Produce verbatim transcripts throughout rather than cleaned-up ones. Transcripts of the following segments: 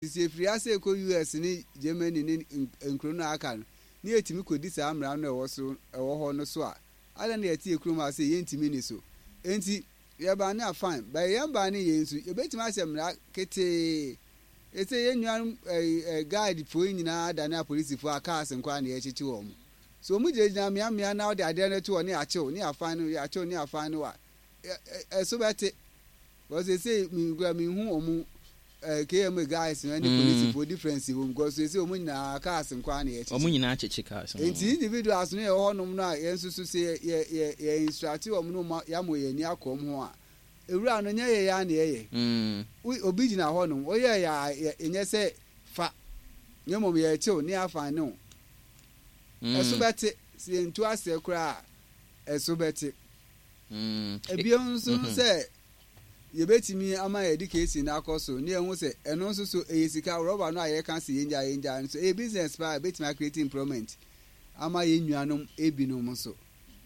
Sɛ yɛfiri ase rekɔ U S ne Germany ne nkuro no a aka no, ne yɛtumi kɔdi saa mmara no a ɛwɔ so ɛwɔ hɔ no so a, adɛn na yɛte yɛ kurom ha sɛ yɛntumi ni so? Enti yɛban ne a, fine, but yɛn ban ne yɛn nso yɛbɛtumi ahyɛ mmara ketee ɛsɛ yɛn nuanom ɛɛ guard foɔ yi nyinaa dane apolisifoɔ a cars nkoa na yɛkyekye wɔn mo so wɔn gyinagyina mmeammea na wɔde adeɛ no to hɔ ne yɛakyew ne yɛafan no, yɛakyew ne yɛafan no a, ɛso bɛte because sɛ mi kura mi hu wɔn ɛɛ K M A guys no ɛne polisifoɔ difference wɔ mu, because sɛ wɔn nyinaa cars nkoa na yɛkyekye. Wɔn nyinaa kyekye cars. Nti individuals no yɛ wɔ hɔnom no a, yɛn nso so sɛ yɛ yɛ yɛ instruct wɔn no ma yɛamɔ yɛn ani akɔ wɔn ho a, ewura no nyɛ yɛ yɛ ana yɛyɛ. Obi gyina hɔnom oyɛ yɛ a, yɛ nyɛ sɛ fa ne mmom yɛkyew ne afa ne o ɛso bɛte. Sɛ yɛntu aseɛ koraa, ɛso bɛte. Ebien nso sɛ yɛbɛtumi ama yɛ education no akɔ so ne yɛn ho sɛ ɛno nso so ɛyɛ sika. Rɔba no a yɛka sɛ yɛngya yɛngya no so, ɛyɛ business paa, ɛbɛtumi acreate employment ama yɛn nuanom ebinom nso.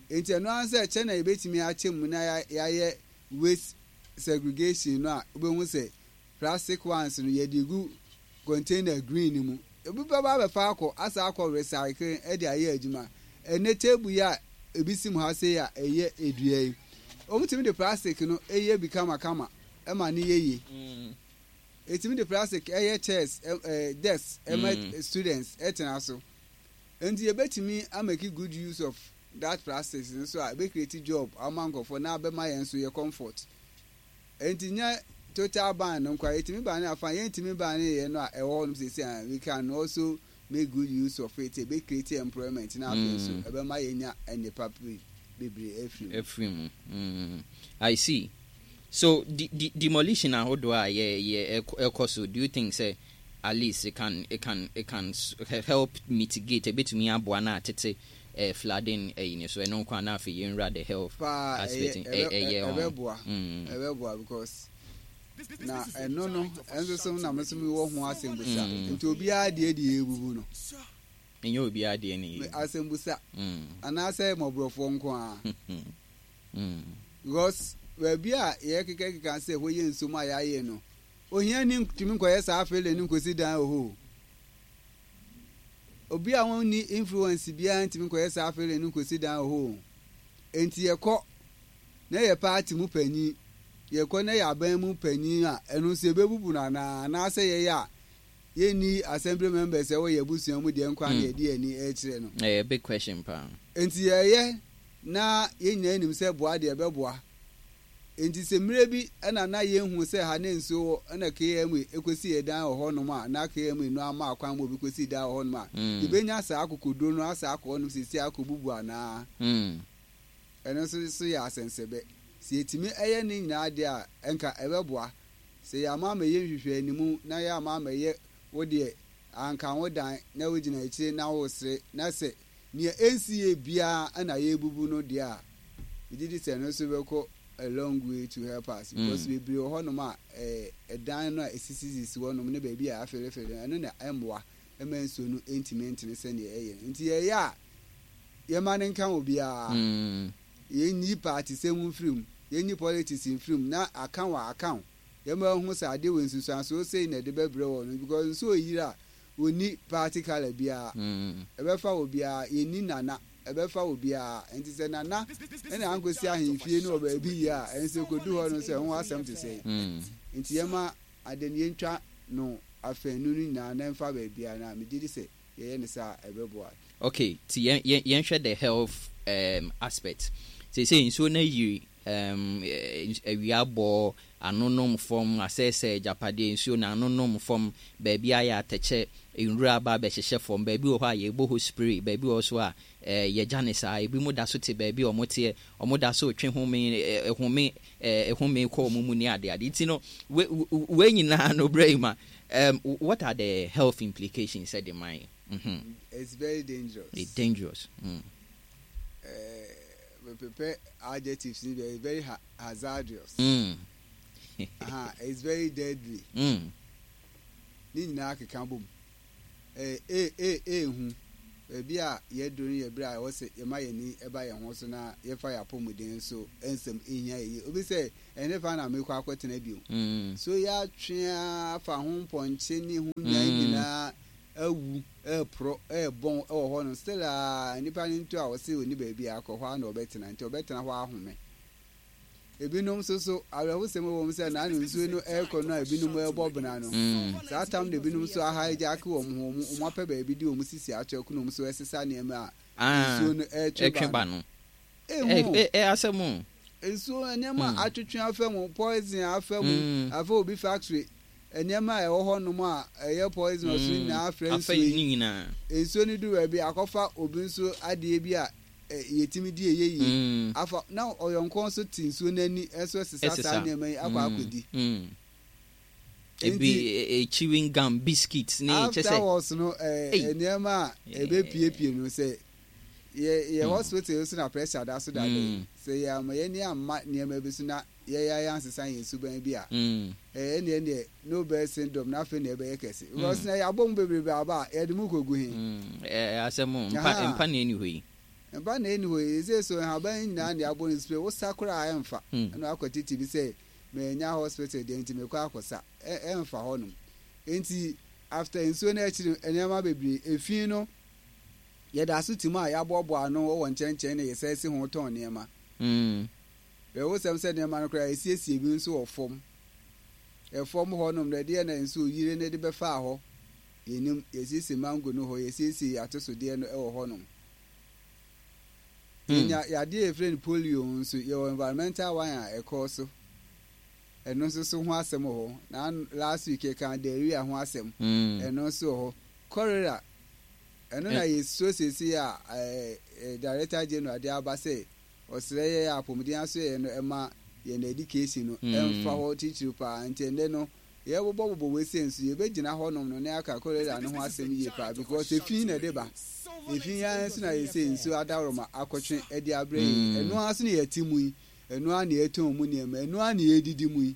Nti ɛno ara sɛ kyɛ na yɛbɛtumi akyɛ mu na yɛayɛ waste segregation no a, wobɛhu sɛ plastic ones no yɛde gu container green no mu, ebi bɛba abɛfa akɔ asa akɔ recycle ɛde ayɛ adwuma. Ɛnɛ table yi a ebi si mu ha sei a ɛyɛ edua yi, wɔn de plastic no ɛyɛ bi kamakama ɛma ne yɛ yie. Etimi de plastic ɛyɛ chairs, ɛ desk ɛma students ɛtena so. Nti yɛbɛtumi amake good use of that plastic nso a ebe create job ama nkɔfoɔ na abɛma yɛn nso yɛ comfort. Nti nyɛ total ban no nkwa, yɛtumi ban no afa, yɛntumi ban no yɛ no a ɛwɔ hɔ nom sisi a, we can also make good use of it. Ebe create employment na afei nso ɛbɛma yɛnya nnipa bebree afiri mu. Afiri mu. mm. I see. So de de demolition ahodoɔ a yɛ yɛ ɛkɔ so, do you think sɛ at least it can it can it can help mitigate, ebetumi aboa na atete eh, flooding ɛyi ne so ɛno nko na afei yɛnwura the health paa aspect? Ɛyɛ, ɛbɛboa, ɛbɛboa because na ɛno no ɛnso so na mo nso mi wɔ ho asɛmbusa. Nti obiara deɛ deɛ ebubu no? Ɛnyɛ obiara deɛ ne yɛ. Asɛmbusa anaasɛ mmɔborɔfoɔ nko ara, because baabi a yɛkekakeka sɛ hɔ yɛ nsuom a yɛayɛ no, ohia ni ntumi nkɔyɛ saa afeele no nkosi dan wɔ hɔ. Obi a wɔnni influence biara ntumi nkɔyɛ saa afeele no nkosi dan wɔ hɔ. Nti yɛkɔ na yɛ party mu panyin, yɛkɔ na yɛ aban mu panyin a, ɛno nso yɛbɛbubu no anaa? Anaasɛ yɛyɛ a yɛnni assembly members ɛwɔ yɛ abusua mu deɛ nkwa na yɛde yɛn ani ɛrekyerɛ no? Ɛyɛ big question paa. Nti yɛyɛ na yɛn nyinaa nim sɛ boa deɛ ɛbɛboa. Nti sɛ mmerɛ bi ɛna na yɛnhu sɛ ha ne nsuo wɔ, ɛna K M A ekosi yɛ dan wɔ hɔnom a, na K M A no ama akwan ma obi kɔsi dan wɔ hɔnom a, yɛbɛnya saa akokoduro no asa akɔ hɔnom sisi akɔbubu anaa? Ɛno nso so yɛ asɛnsɛbɛ. Sɛ yɛtumi ɛyɛ ne nyinaa deɛ a, ɛnka ɛbɛboa. Sɛ yɛama ama yɛ nhwehwɛ animu na yɛama ama yɛ wo deɛ anka wo dan na wogyina akyire na wosere na sɛ nea ɛnsi yɛ biara ɛna yɛbubu no deɛ a, megye di sɛ ɛno nso bɛkɔ a long way to help us, because bebree wɔ hɔnom a ɛɛ ɛdan no a esisisisi hɔnom ne baabi a afelefele no, ɛno na ɛmmoa ɛma nsuo no ntumi ntene sɛnea ɛyɛ no. Nti yɛyɛ a, yɛma ne nka obiara, yɛnyi party sɛm mfiri mu, yɛnyi politics mfiri mu na aka wɔ aka wo, yɛma ɛho sɛ adeɛ wɔ nsusuansoɔ sei na ɛde bɛbrɛ wɔ no, because nsuo yiri a, wɔnni party colour biara, ɛbɛfa obiara. Yɛnni nana, ɛbɛfa obiara. Nti sɛ nana ɛna ankɔsi ahemfie no wɔ baabi yie a, ɛnso kɔdu hɔ no sɛ ɛho asɛm te sɛ. Nti yɛma ade no yɛntwa no afɛnu no nyinaa na ɛmfa baabiara, na megye di sɛ yɛyɛ ne saa, ɛbɛboa. Okay, ti yɛn yɛn yɛnhwɛ the health um, aspect. Seesei nsuo no ayiri, um, awia bɔ anonom fam, asɛesɛ agyapadeɛ, nsuo no anonom fam, baabi ayɛ atɛkyɛ, nwura aba abɛhyehyɛ fam, baabi wɔ hɔ a yɛbɔ hɔ spray, baabi wɔ hɔ so a eh, yɛgya ne saa, ebi mu da so te baabi a ɔmo teɛ, ɔmo da so twe home, eh, home eh, home kɔ ɔmo mu ne adeade. Nti no we we nyinaa no brɛ yi ma um, what are the health implications sɛ de man? mm-hmm. It's very dangerous. It's dangerous mm. uh, prepare adjectives ni, very very ha hazardous. mm. uh-huh. It's very deadly. Mm. Ne nyinaa keka bom. Ee ee ee ehu. Baabi a yɛaduru no yɛ bere a ɛwɔ sɛ yɛma yɛn ani ba yɛn ho so na yɛfa yɛn apɔwmuden so nsɛm hia yiye. Obi sɛ, Ɛhefa na merekɔ akɔtena bio? So yɛatwe ara afa ho mpɔnkye ne ho nnwan nyinaa awu, reporɔ, rebɔn wɔ hɔnom? Still a, nnipa no ntu a wɔse onni baabi akɔ, hɔ ara na ɔbɛtena, nti ɔbɛtena hɔ ahome. Ebinom nso so, awerɛhosɛm wɔ mu sɛ na ano nsuo no rekɔ no a ebinom rebɔ bena no, saa tam na ebinom nso ahaejaake wɔn ho, wɔn apɛ baabi de wɔn sisi ato ɛko na wɔn nso resesa nneɛma a nsuo no retwe ba no. Ehu. Ɛ asɛm o. Nsuo nneɛma a atwetwe afa mu, poison afa mu, afa obi factory, nneɛma a ɛwɔ hɔnom a ɛyɛ poisonous no nyinaa afra nsuo yi. Nsuo no duru baabi akɔfa obi nso adeɛ bi a yɛtumi di ɛyɛ yie afa na ɔyɔnko nso te nsuo no ani nso sesa saa nneɛma yi akɔ akɔdi. Ebi chewing gum, biscuits ne kyɛ sɛ. Afterwards no nneɛma a ɛbɛpiepie no sɛ yɛ yɛ hospital nso na pressure da so dada yi sɛ yɛ ama yɛn ani amma nneɛma bi so na yɛyɛ yɛ ansesa yɛn suban bi a ɛyɛ neɛ neɛ no birth syndrome na afei na ɛbɛyɛ kɛse because na yɛabɔ mu bebrebe aba a yɛde mu kɔgu he. Ɛɛ asɛm mpa mpa na ɛni hɔ yi. Mpa na ɛni hɔ yi sɛ so nhaban yi nyinaa na yɛabɔ no spray wosa koraa ɛmfa ɛna wakɔ tete bi sɛ manya hospital deɛ nti mekɔ akɔsa ɛmfa hɔnom nti after nsuo no akyiri nneɛma bebree efi no yɛda so te mu a yɛaboaboa ano wɔ nkyɛnkyɛn na yɛsɛ si ho tɔn nneɛma. Ɛwosɛm sɛ nneɛma no koraa yɛsiesie bi nso wɔ fam. Ɛfam hɔnom no ɛdeɛ na nsuo yire no de bɛfaa hɔ yɛnim yɛsiesie mango no hɔ yɛsiesie atosodeɛ no wɔ hɔnom. Yɛnya yadeɛ yɛfrɛ no polio nso yɛwɔ environmental one a ɛkɔɔ so. Ɛno nso so ho asɛm wɔ hɔ. Na last week yɛka diarrhea ho asɛm. Ɛno nso wɔ hɔ. Cholera ɛno na yɛsuo seesei a Director General de aba sɛ ɔsrɛ yɛ apɔmuden aso yɛ no ɛma yɛn education no ɛmfa hɔ titiriw paa nti ɛnnɛ no yɛbobɔbobɔ wei sɛ nso yɛbɛgyina hɔnom no ne aka cholera no ho asɛm yie paa because efi na ɛde ba efi ya nso na yɛsɛ nsuo adaworoma akɔtwe ɛde abrɛ yɛn ɛno ara nso na yɛte mu yi ɛno ara na yɛtɔn mu nneɛma ɛno ara na yɛdidi mu yi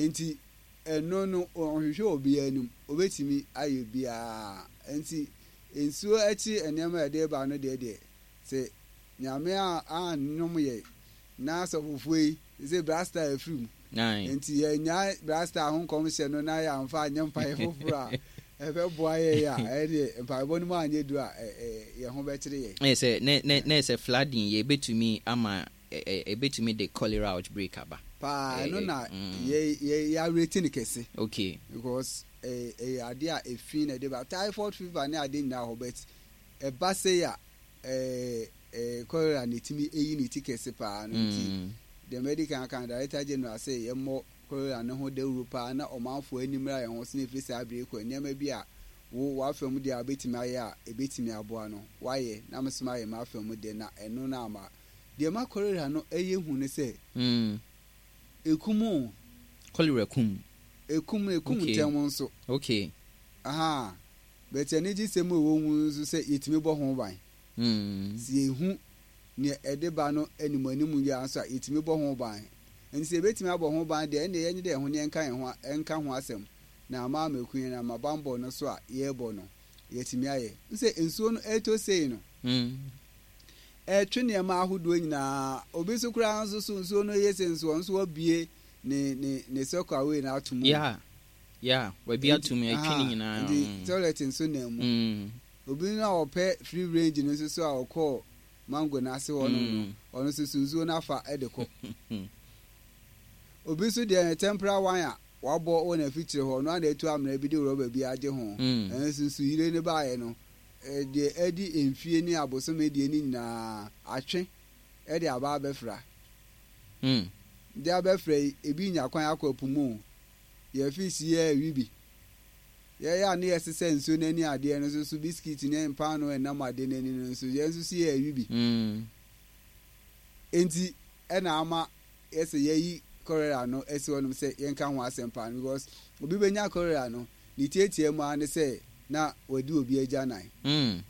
nti ɛno no ɔnhwehwɛ obiara anim obetumi ayɛ biara nti nsuo akyi nneɛma a yɛde ba no deɛ deɛ sɛ Nyame a annom yɛ na asɔfofoɔ yi sɛ brasta afiri mu nti yɛnya brasta ho nkɔmhyɛ no na yɛamfa anyɛ mpaeɛ foforɔ a ɛbɛboa yɛ a ɛdeɛ mpaebɔ no mu anyɛ du a yɛn ho bɛkyere yɛn. Ɛyɛ sɛ ne ne ne sɛ flooding yɛ ebetumi ama ebetumi de cholera outbreak aba. Paa ɛno na yɛ yɛ yɛawerɛti no kɛse. Okay. Because ɛyɛ adeɛ a efi na ɛde ba typhoid fever ne adeɛ nyinaa hɔ but ɛba sei a ɛɛ ɛɛ cholera na etumi eyi ne ti kɛse paa no nti deɛ medical kan Director General sɛ yɛmmɔ cholera ne ho dawuro paa na ɔmanfoɔ anim ra yɛn ho so na efiri saa abiri kɔ nneɛma bi a wo w'afa mu deɛ a wobɛtumi ayɛ a ebɛtumi aboa no wayɛ na me nso mayɛ m'afa mu deɛ na ɛno no ama deɛ ma cholera no ɛyɛ hu ne sɛ ekum o. Cholera kum. Ekum ekum ntɛm nso. Okay. Aha bɛtɛ anigye sɛm a ɛwɔ mu nso sɛ yɛtumi bɔ ho ban. Sɛ yɛhu nea ɛde ba no anim anim yi ara nso a yɛtumi bɔ ho ban. Nti sɛ yɛbɛtumi abɔ ho ban deɛ ɛnneɛ yɛnyɛ dɛ ɛho ne yɛnka yɛn ho ɛnka ho asɛm na ama amaku yɛn ama bambɔ no so a yɛrebɔ no yɛtumi ayɛ. Sɛ nsuo no ɛretɔ sei no ɛretwe nneɛma ahodoɔ nyinaa obi nso koraa nso so nsuo no yɛ sɛ nsuo nso wabue ne ne ne sɔkɔ away no ato mu. Yeah. Yeah, wabi ato mu ɛtwe ne nyinaa. Nti toilet nso nam mu. Obi no a ɔpɛ free range no nso so a ɔkɔɔ mango n'ase hɔ no no ɔno nso so nsuo no afa de kɔ. Obi nso deɛ ne temporary one a wabɔ wɔ n'afikyire hɔ ɔno a na etu amena bi de rɔba bi agye ho. Ɛno nso nsuyire no baeɛ no deɛ ɛdi mfie ne abosome deɛ ne nyinaa atwe ɛde aba abɛfra. De abɛfra yi ebi nya kwan akɔ po mu yɛ fish yɛ awi bi. Yɛyɛ a ne yɛsesa nsuo n'ani adeɛ no nso so biscuit ne mpaano ɛnam adeɛ n'ani no nso yɛn nso so yɛ awi bi. Nti ɛna ama yɛsɛ yɛyi cholera no asi hɔnom sɛ yɛnka ho asɛm paa no because obi bɛnya cholera no ne tietie mu ara ne sɛ na wadi obi agyanan. Mm.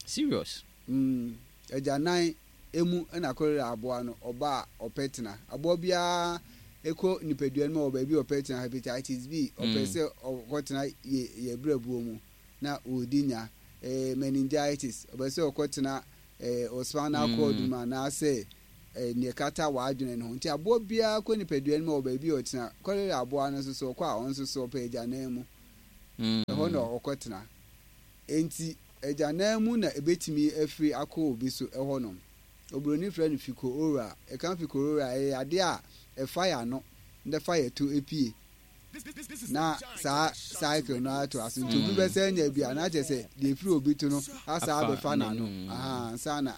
Serious. Mm. Agyanan emu na cholera aboa no ɔba a ɔpɛ tena. Aboa biara ekɔ nipadua no mu wɔ baabi a ɔpɛ tena hepatitis B ɔpɛ sɛ ɔkɔtena yɛ yɛ brɛbuo mu na ɔredi nya. eh, meningitis, ɔpɛ sɛ ɔkɔtena eh, wo spinal cord mu anaasɛ eh, nea ɛkata w'adwene no ho. Nti aboa biara kɔ nipadua no mu a, ɔwɔ baabi a ɔtena. Kɔlera aboa no nso so, ɔkɔ a, ɔno nso so ɔpɛ agyanan mu. Ɛhɔ na ɔkɔtena. Enti agyanan mu na ebetumi afiri akɔ obi so ɛhɔnom. Oburoni frɛ no fecal-oral. Yɛka fecal-oral a, ɛyɛ yadeɛ a ɛfa yɛn ano na ɛfa yɛn to pue. Na saa cycle no atoa so. Nti obi bɛsan anya bi a, na kyerɛ sɛ deɛ ɛfiri obi to no asan abɛfa n'ano ansa na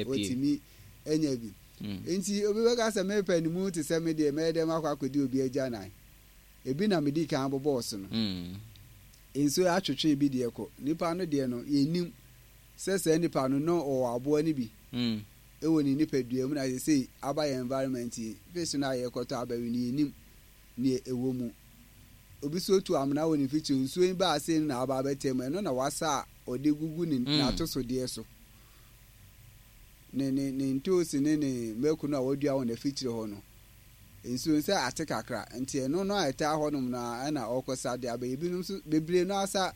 watumi anya bi. Nti obi bɛka sɛ mepɛ ne mu te sɛ me deɛ, mɛyɛ dɛn makɔ akɔdi obi agyanan? Ebi na medii kan bobɔɔ so no. Nsuo atwetwe bi deɛ kɔ. Nipa no deɛ no, yɛnnim sɛ saa nipa no na ɔwɔ aboa no bi wɔ ne nipadua mu na seesei aba yɛn environment yi, fish no a yɛkɔtɔ abɛwe no, yɛnnim nea ɛwɔ mu. Obi nso tu amena wɔ ne mfikyire, nsuo yi baa sei no na aba abɛtɛ mu, ɛno na wasa a ɔde gugu ne n'atosodeɛ so. Ne ne ne ntoosi ne ne mako no a wadua wɔ n'afikyire hɔ no, nsuo no sɛ ate kakra nti ɛno no a ɛtaa hɔnom no ara na ɔrekɔsa de abɛyɛ. Ebinom nso bebree no ara sa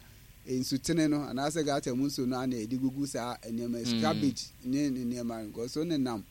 nsutene no anaasɛ gutter mu nsuo no ara na yɛde gugu saa nneɛma yi so, cabbage ne ne nneɛma no because nenam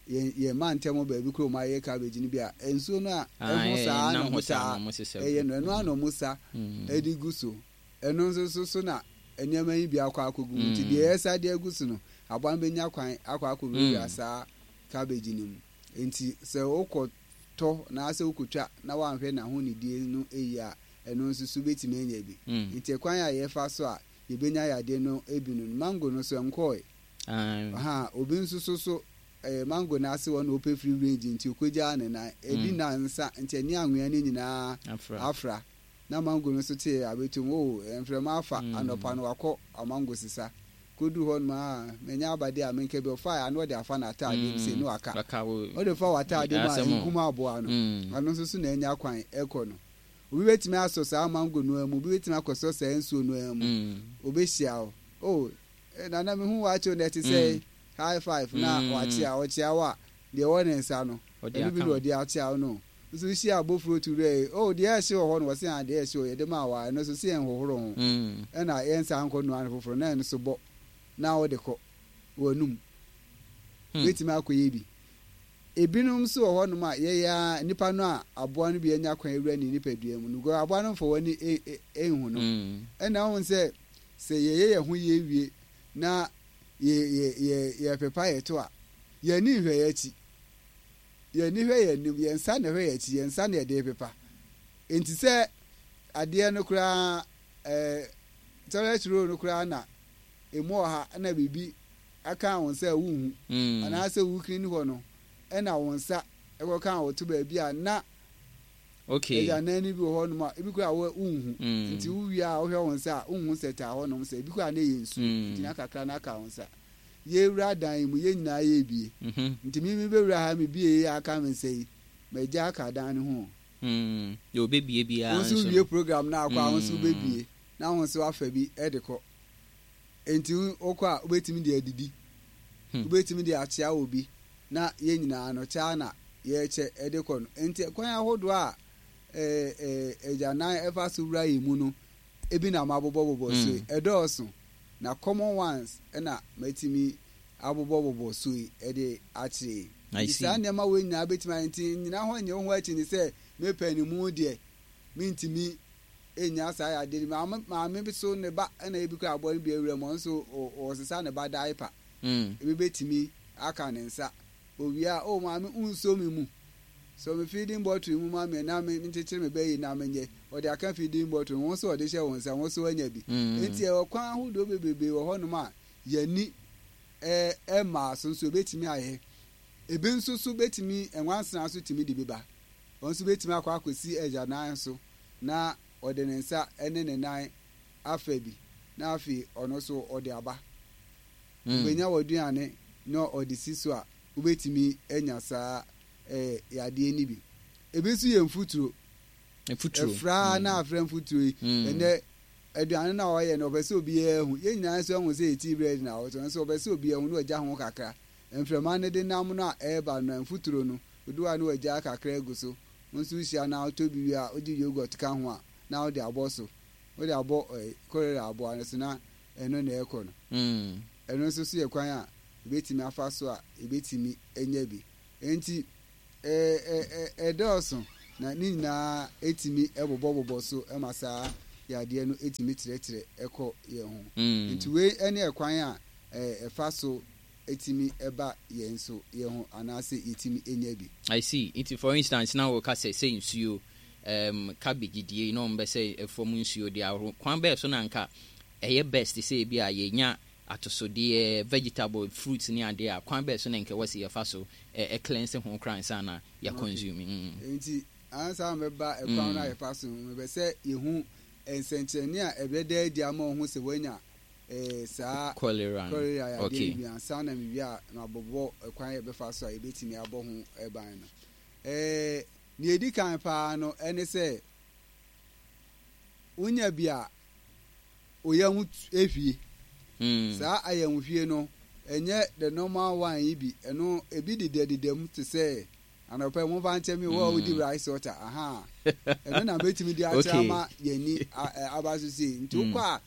yɛn yɛn mantam baabi koro wɔn ayɛ cabbage no bi a nsuo no a ɛho saa na wɔn taa ɛyɛ no, ɛno ara na wɔn sa de gu so. Ɛno nso so so na nneɛma yi bi akɔ akɔgu mu nti deɛ yɛsa de agu so no aboa no bɛnya kwan akɔ akɔwurawura saa cabbage no mu. Enti sɛ wokɔtɔ anaasɛ wokɔtwa na woanhwɛ n'ahonidie no yie a, ɛno nso so wobɛtumi anya bi. Enti ɛkwan a yɛfa so a yɛbɛnya yadeɛ no bi no, mango no so ɛnkɔɔe. Ahaa, obi nso so so ɛyɛ mango no ase hɔ na ɔpɛ free range nti ɔkɔgyaa ne nan. Ɛdi nnansa nti ɛne anwea no nyinaa afra. Na mango no nso tee abɛtom, oh, mframa afa, anɔpa no wakɔ amango sesa. Koduu hɔ nom a, manya aba deɛ a menka bi, ɔfaeɛ a na ɔde afa n'ataadeɛ mu sei na waka. Wode fa w'ataadeɛ mu a, nkum aboa no. Ɔno nso so na anya kwan kɔ no. Obi bɛtumi asɔ saa mango no ara mu, obi bɛtumi akɔsɔ saa nsuo no ara mu. Ɔbɛhyia wo. Oh, Nana mehu wo akyɛ o, na ɛte sɛn? High five na wakyea wo. Ɔkyea wo a, deɛ ɛwɔ ne nsa no, ɛno bi na ɔde akyea wo no. Nso wohyia abofuro to wura yi, oh, deɛ ɛhye wɔ hɔ no, wɔse ah, deɛ ɛhye o, yɛde maa wo a, ɛno nso se yɛnhohoro ho, ɛna yɛnsan nkɔ noa no foforɔ, na ɛno nso bɔ na wode kɔ w'anum. Wobɛtumi akɔyɛ bi. Ebinom nso wɔ hɔnom a, yɛyɛ ara, nipa no a aboa no bi anya kwan awura ne nipadua mu no, because aboa no mfa w'ani nhu no. Ɛna wohu sɛ, sɛ yɛyɛ yɛn ho yie wie na yɛ yɛ yɛ yɛpepa yɛn to a, yɛn ani nhwɛ yɛn akyi. Yɛn ani hwɛ yɛn anim, yɛn nsa na ɛhwɛ yɛn akyi, yɛn nsa na yɛde repepa. Enti sɛ adeɛ no koraa ɛɛ toilet roll no koraa na emu ɔha na biribi aka wo nsa a wonhu mm. anaasɛ wo clean hɔ no ɛna wo nsa ɛkɔka wo to baabi a na okay. Agyanan no bi wɔ hɔnom a ebi koraa wonhu mm. Nti wowie a wohwɛ wo nsa a wonhu sɛ taa hɔnom sɛ ebi koraa na ɛyɛ nsuo mm. Nti na kakra na aka wo nsa. Yɛwura dan yi mu, yɛn nyinaa yɛrebie. Nti me mebɛwura ha mebie yi aka me nsa yi, magya aka dan no ho o. Deɛ ɔbɛbie biara Wo nso nso wowie no. program no akɔ a, wo nso wobɛbie na wo nso afa bi de kɔ. Nti wokɔ a wobɛtumi de adidi, wobɛtumi de akyea obi na yɛn nyinaa no kyɛ ara na yɛrekyɛ de kɔ no. Nti kwan ahodoɔ a agyanan fa so wura yɛn mu no, ebi na mabobɔbobɔ so yi, ɛdɔɔso. Na common ones na matumi abobɔbobɔ so yi de akyerɛ yi. I Nti see. saa nneɛma wei nyinaa bɛtumi ayɛ nti nnyina hɔ nyɛ wo ho akyi ne sɛ me pɛ no mu deɛ mentumi nnya saa yadeɛ no bi. Maame, maame bi so ne ba na ebi koraa aboa no bi awura mu, ɔno nso ɔresesa ne ba diaper. Mm. Ebi bɛtumi aka ne nsa. Owie a, oh maame wonsɔ me mu. Sɔ me feeding bottle mu ma me na me nkyekyere me ba yi na menyɛ. Ɔde aka feeding bottle no, wo nso ɔde hyɛ wo nsa, wo nso woanya bi. Enti ɛwɔ kwan ahodoɔ bebrebe wɔ hɔnom a yɛn ani mmaa so nso ɛbɛtumi ayɛ. Ebi nso so bɛtumi, nwansena nso tumi de bi ba. Ɔno nso bɛtumi akɔ akɔsi agyanan so na ɔde ne nsa ne ne nan afa bi na afei ɔno nso ɔde aba. Wobɛnya w'aduane na ɔde si so a, wobɛtumi anya saa eh, yadeɛ no bi. Ebi nso yɛ mfuturo. Mfuturo. Ɛfra na afra mfuturo yi. Ɛnɛ aduane no a ɔyɛ no ɔpɛ sɛ obiara hu. Yɛn nyinaa nso ahu sɛ yɛ tea bread na ɔtɔ nso ɔpɛ sɛ obiara hu na ɔgya ho kakra. Mframa no de nam no a ɛreba no mfuturo no, odu hɔ a na wagya kakra agu so. Wo nso wohyia na wotɔ bi wie a wode yogurt ka ho a na wode abɔ so. Wode abɔ eh, cholera aboa no so na Ɛno na ɛkɔ no. Mm. Ɛno nso so yɛ kwan a yɛbɛtumi afa so a yɛbɛtumi anya bi. Enti ɛdɔɔso na ne nyinaa ɛtumi bobɔbobɔ so ma saa yadeɛ no ɛtumi trɛtrɛ ɛkɔ yɛn ho. Mm. Nti wei ne ɛkwan a ɛfa so ɛtumi ɛba yɛn so yɛn ho anaasɛ yɛtumi nya bi. I see. Nti for instance na wɔka sɛ sɛ nsuo um, cabbage die na ɔmo bɛ sɛ ɛfam nsuo de ahoro kwan bɛɛ so na nka ɛyɛ best sɛ ebi a yɛnya atosodeɛ, vegetable, fruits ne adeɛ a, kwan bɛɛ so na nka ɛwɔ sɛ yɛfa so ɛ cleanse ho koraa ansa na yɛ consume? Mm. Nti ansa na mɛba ɛkwan no a yɛfa so no, mepɛ sɛ yɛhu nsɛnkyerɛnne a ɛbɛda adi ama wo ho sɛ woanya eh, saa cholera no. Cholera yadeɛ Okay. no bi ansa na mewie a mabobɔ ɛkwan a yɛbɛfa so a yɛbɛtumi abɔ ho ban no. Eh, nea ɛdi kan paa no ɛne sɛ wonya bi a oyam ehwie. Mm. Saa ayamhwie no, ɛnyɛ the normal one yi bi. Ɛno ebi dedadeda mu te sɛ anɔpɛ momfa nkyɛ me wo a wodi rice water aha. Ɛno na mɛtumi de akyerɛ Okay. ama yɛni aba so sei. Nti wokɔ a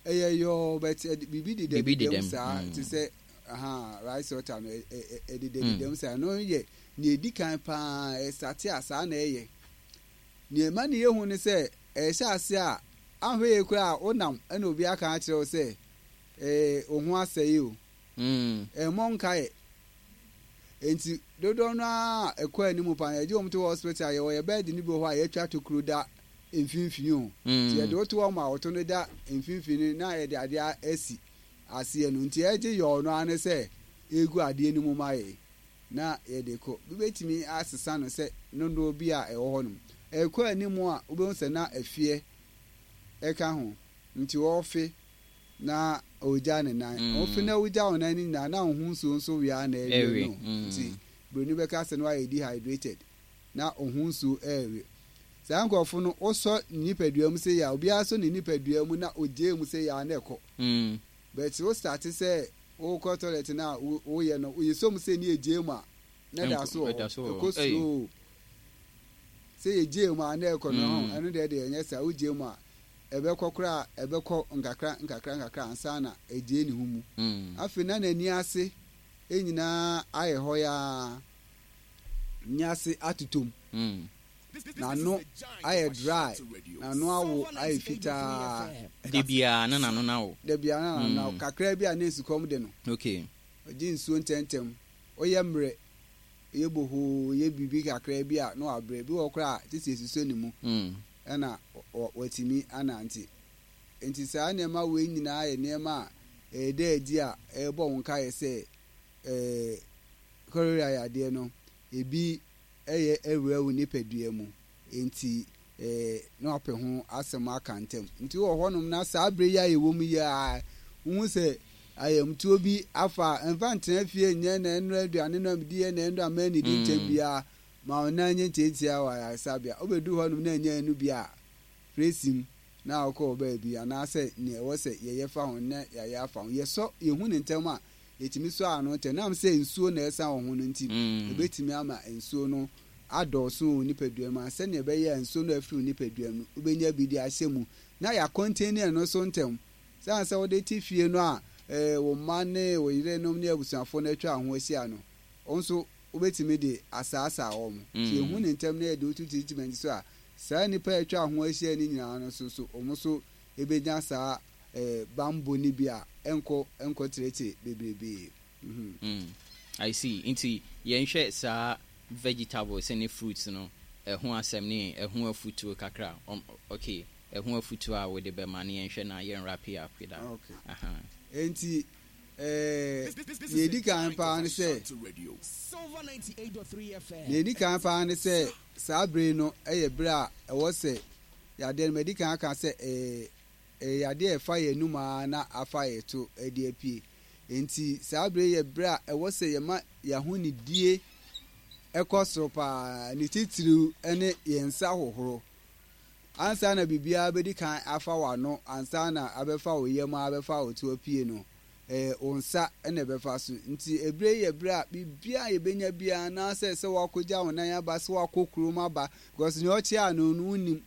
ɛyɛ yɔɔ, but biribi Biribi dedadeda deda mu mu. saa Mm. te sɛ aha rice water no, ɛdedadeda mu saa. Ɛno yɛ nea ɛdi kan paa ɛsate a saa na ɛyɛ. Nea ɛma ne yɛhu ne sɛ ɛhyɛ ase a ahwɛ yie koraa a wonam ɛna obi aka akyerɛ wo sɛ ɛɛ wo ho asɛe o. Mm. Ɛmmɔ nkaeɛ. Nti dodoɔ no a ɛkɔ anim paa, yɛgye wɔn to hospital a, yɛwɔ yɛ bed no bi wɔ hɔ a yɛatwa tokuro da mfimfini o. Nti yɛde wo to hɔ ma wɔto no da mfimfini na yɛde adeɛ asi aseɛ no. Nti ɛgye yɔɔ no ara ne sɛ egu adeɛ no mu ma yɛ na yɛde kɔ. Bi bɛtumi asesa no sɛ dodoɔ bi a ɛwɔ hɔ nom. Ɛkɔ anim a wobɛhu sɛ na ɛfeɛ ɛka ho. Nti wɔfe na ogya ne nan. Mm. Wofe na wogya wo nan no nyinaa na wo ho nsuo nso wia na ɛwie Ɛwe. no. Mm. Nti buroni bɛka sɛ no ayɛ dehydrated na wo ho nsuo ɛrewe. Saa nkurɔfo no, wosɔ ne nipadua mu sɛ yɛ a, obiara sɔ ne nipadua mu na ogye mu sɛ yɛ a na ɛkɔ. Mm. But wo start sɛ wokɔ toilet na woyɛ no, yɛsɔ mu sɛ ne yɛgye mu a, na da so wɔ Ɛda hɔ. so wɔ hɔ. Ɛkɔ slow. Sɛ yɛgye mu a na ɛkɔ no ho, Mm. ɛno deɛ deɛ ɛnyɛ saa. Wogye mu a, ɛbɛkɔ koraa, ɛbɛkɔ nkakra nkakra nkakra ansa na ɛgye ne ho mu. Mm. Afei na n'ani ase nyinaa ayɛ hɔ yaa. N'ani ase atotom. Mm. N'ano ayɛ dry. N'ano awo ayɛ fitaa. De biara na n'ano na wo. Da biara na n'ano awo. Mm. Kakra bi a na esukɔm de no. Okay. Ɔgye nsuo ntɛmntɛm. Ɔyɛ mmerɛ. Ɔyɛ bohoo, ɔyɛ biribi kakra bi a na wabrɛ. Bi wɔ koraa a gye sɛ esusɔ ne mu Mm. ɛna watumi anante. Nti saa nneɛma wei nyinaa yɛ nneɛma a ɛda adi a ɛrebɔ wo nkaeɛ sɛ ɛɛ cholera yadeɛ no ebi ɛyɛ awura wo nipadua mu. Nti ɛɛ na wapɛ ho asɛm aka ntɛm. Nti wɔ hɔnom na saa abere yi a yɛwɔ mu yi a, wohu sɛ ayamtuo bi afa, mfa ntena fie nyɛ na ɛnora aduane no a medi na ɛnora mma anidi ntɛm Mm. biara ma wo nan nyɛ ntiantia wɔ ayaresabea. Wobɛdu hɔnom na ɛnyɛ ɛno bi a, frɛ na wokɔ wɔ baabi anaasɛ nea ɛwɔ sɛ yɛyɛ fa ho na yɛayɛ afa ho. Yɛsɔ yɛhu ne ntɛm a, yɛtumi sɔ ano ntɛm. Nam sɛ nsuo na ɛsa wɔ ho no nti, Mm. ebɛtumi ama nsuo no adɔɔso wɔ nipadua mu a sɛnea ɛbɛyɛ a nsuo no afiri wo nipadua mu no, wobɛnya bi de ahyɛ mu na yɛakɔntene ɛno so ntɛm. Sɛne sɛ wode te fie no a, ɛɛ wo mma ne wo yerenom ne abusuafoɔ no atwa ho ahyia no, wo nso wobɛtumi de asaasaa wɔn. Nti Mm. yɛhu ne ntɛm na yɛde wotu treatment so a, saa nnipa a atwa ho ahyia no nyinaa no so so wɔn nso ebɛnya saa ɛɛ bambɔ no bi a ɛnkɔ ɛnkɔ kyerɛkyerɛ bebrebee. Mhm. Mm. I see. Nti yɛnhwɛ saa vegetables ne fruits no ɛho asɛm ne ɛho afutuo kakra. Um, okay. Ɛho afutuo a wode bɛma ne yɛnhwɛ na yɛn wrap it up with that. Okay. Aha. Nti ɛɛ nea edi kan paa ne sɛ nea edi kan paa ne sɛ saa bere no yɛ bere a ɛwɔ sɛ yadeɛ no madi kan aka sɛ ɛɛ ɛyɛ yadeɛ a ɛfa yɛn anum ara na afa yɛn to de apue. Nti saa bere yɛ bere a ɛwɔ sɛ yɛma yɛn ahonidie ɛkɔ soro paa, ne titiriw ne yɛn nsa hohoro. Ansa na biribiara bɛdi kan afa w'ano, ansa na abɛfa wo yam a abɛfa wo to apue no, ɛɛ wo nsa na ɛbɛfa so. Nti ebere yi yɛ bere a biribiara a yɛbɛnya biara anaasɛ sɛ wakɔgya wo nan aba, sɛ wakɔ kurom aba, because nea ɔkyea ano no wonnim.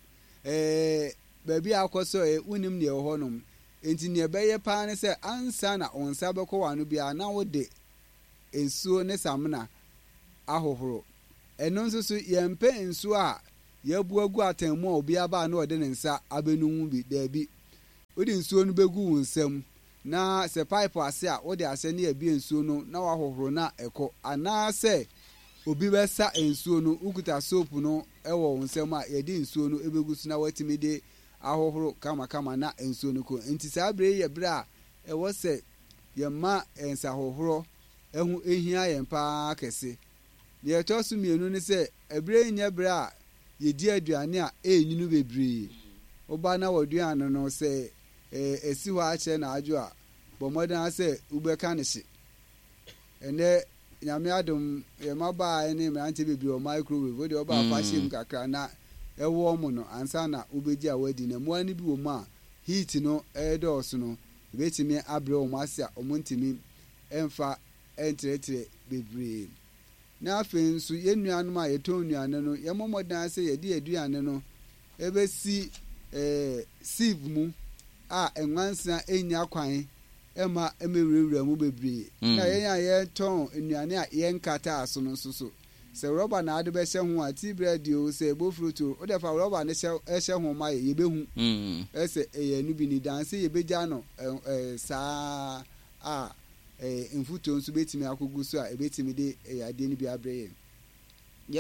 Ɛɛ baabi a akɔ so ɛ wonnim nea ɛwɔ hɔnom. Enti nea ɛbɛyɛ paa ne sɛ ansa na wo nsa bɛkɔ w'ano biara na wode nsuo ne samina ahohoro. Ɛno nso so, yɛmpɛ nsuo a yɛabu agu atɛn mu a obiara ba a na ɔde ne nsa abɛnu mu bi. Daabi. Wode nsuo no bɛgu wo nsam, na sɛ pipe ase a, wode ahyɛ na yɛabue nsuo no na woahohoro na ɛkɔ. Anaasɛ obi bɛsa nsuo no, wokuta soap no wɔ wo nsam a, yɛde nsuo no bɛgu so na woatumi de ahohoro kamakama na nsuo no kɔ. Enti saa berɛ yi yɛ berɛ a ɛwɔ sɛ yɛma nsahohorɔ ho hia yɛn pa ara kɛse. Deɛ ɛtɔ so mmienu ne sɛ, ɛberɛ yi nyɛ berɛ a yɛdi aduane a ɛrenyini bebree. Woba na w'aduane no sɛ ɛsi hɔ akyɛ na adwo a, bɔ mmɔden ara sɛ wobɛka no hye. Ɛnnɛ, Nyame adom, yɛn mmabaa ne mmeranteɛ bebree wɔ microwave. Wo deɛ woba a fa hyɛ mu kakra na ɛwɔɔmo no ansa na wobɛgye a woadi. Na mmoa no bi wɔ mu a, heat no redɔɔso no, ɛbɛtumi abrɛ wɔn ase a wɔntumi mfa ntrɛtrɛ bebree. Na afei nso, yɛn nuanom a yɛtɔn nnuane no, yɛmmɔ mmɔden ara sɛ yɛde yɛn aduane no bɛsi eh, sieve mu a nwansena nnya kwan mma mmɛwurawura mu bebree. Mm. Na yɛn a yɛtɔn nnuane a yɛnkataa so no nso so, sɛ rɔba na ade bɛhyɛ ho a, tea bread o, sɛ bofrot o, wode fa rɔba no hyɛ hyɛ ho ma yɛ, yɛbɛhu mm. sɛ ɛyɛ no bi ni dan sɛ yɛbɛgya no eh, saa a mfuturo nso bɛtumi akɔgu so a ɛbɛtumi de yadeɛ no bi abrɛ yɛn.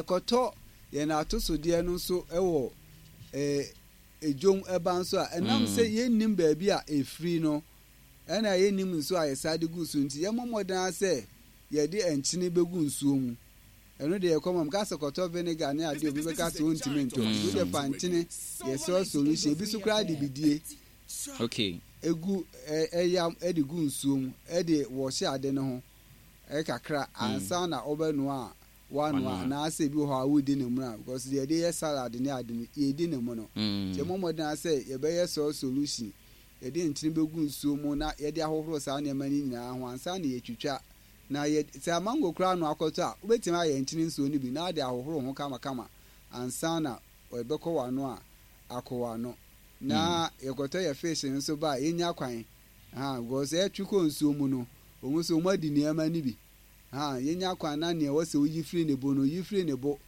Yɛkɔtɔ yɛn atosodeɛ no nso wɔ dwom ba nso a, ɛnam sɛ yɛnnim baabi a ɛfiri no, ɛna yɛnnim nsuo a yɛsa de gu so nti, yɛmmɔ mmɔden ara sɛ yɛde nkyene bɛgu nsuo mu. Ɛno deɛ yɛkɔ ma meka sɛ kɔtɔ vinegar ne adeɛ obi bɛka sɛ ɔntumi ntɔ. Nti wode fa nkyene yɛ salt solution, ebi so koraa de bidie. Okay. Egu ɛyam de gu nsuo mu de wɔhye ade no ho kakra ansa na wobɛnoa a woanoa anaasɛ ebi wɔ hɔ a wodi ne mono a because deɛ yɛde yɛ salad ne ade no yɛdi ne mono. Nti yɛmmɔ mmɔden ara sɛ yɛbɛyɛ salt solution, yɛde nkyene bɛgu nsuo mu na yɛde ahohoro saa nneɛma no nyinaa ho ansa na yɛatwitwa na yɛ sɛ mango koraa na woakɔtɔ a wobɛtumi ayɛ nkyene nsuo no bi na wode ahohoro ho kamakama ansa na ɛbɛkɔ w'ano a akɔ w'ano. Na yɛkɔtɔ yɛ fish nso ba a yɛnya kwan ha because ɛtwe kɔ nsuo mu no wɔn nso wɔn adi nneɛma no bi ha yɛnya kwan na nea ɛwɔ sɛ woyi firi ne bo no yi firi ne bo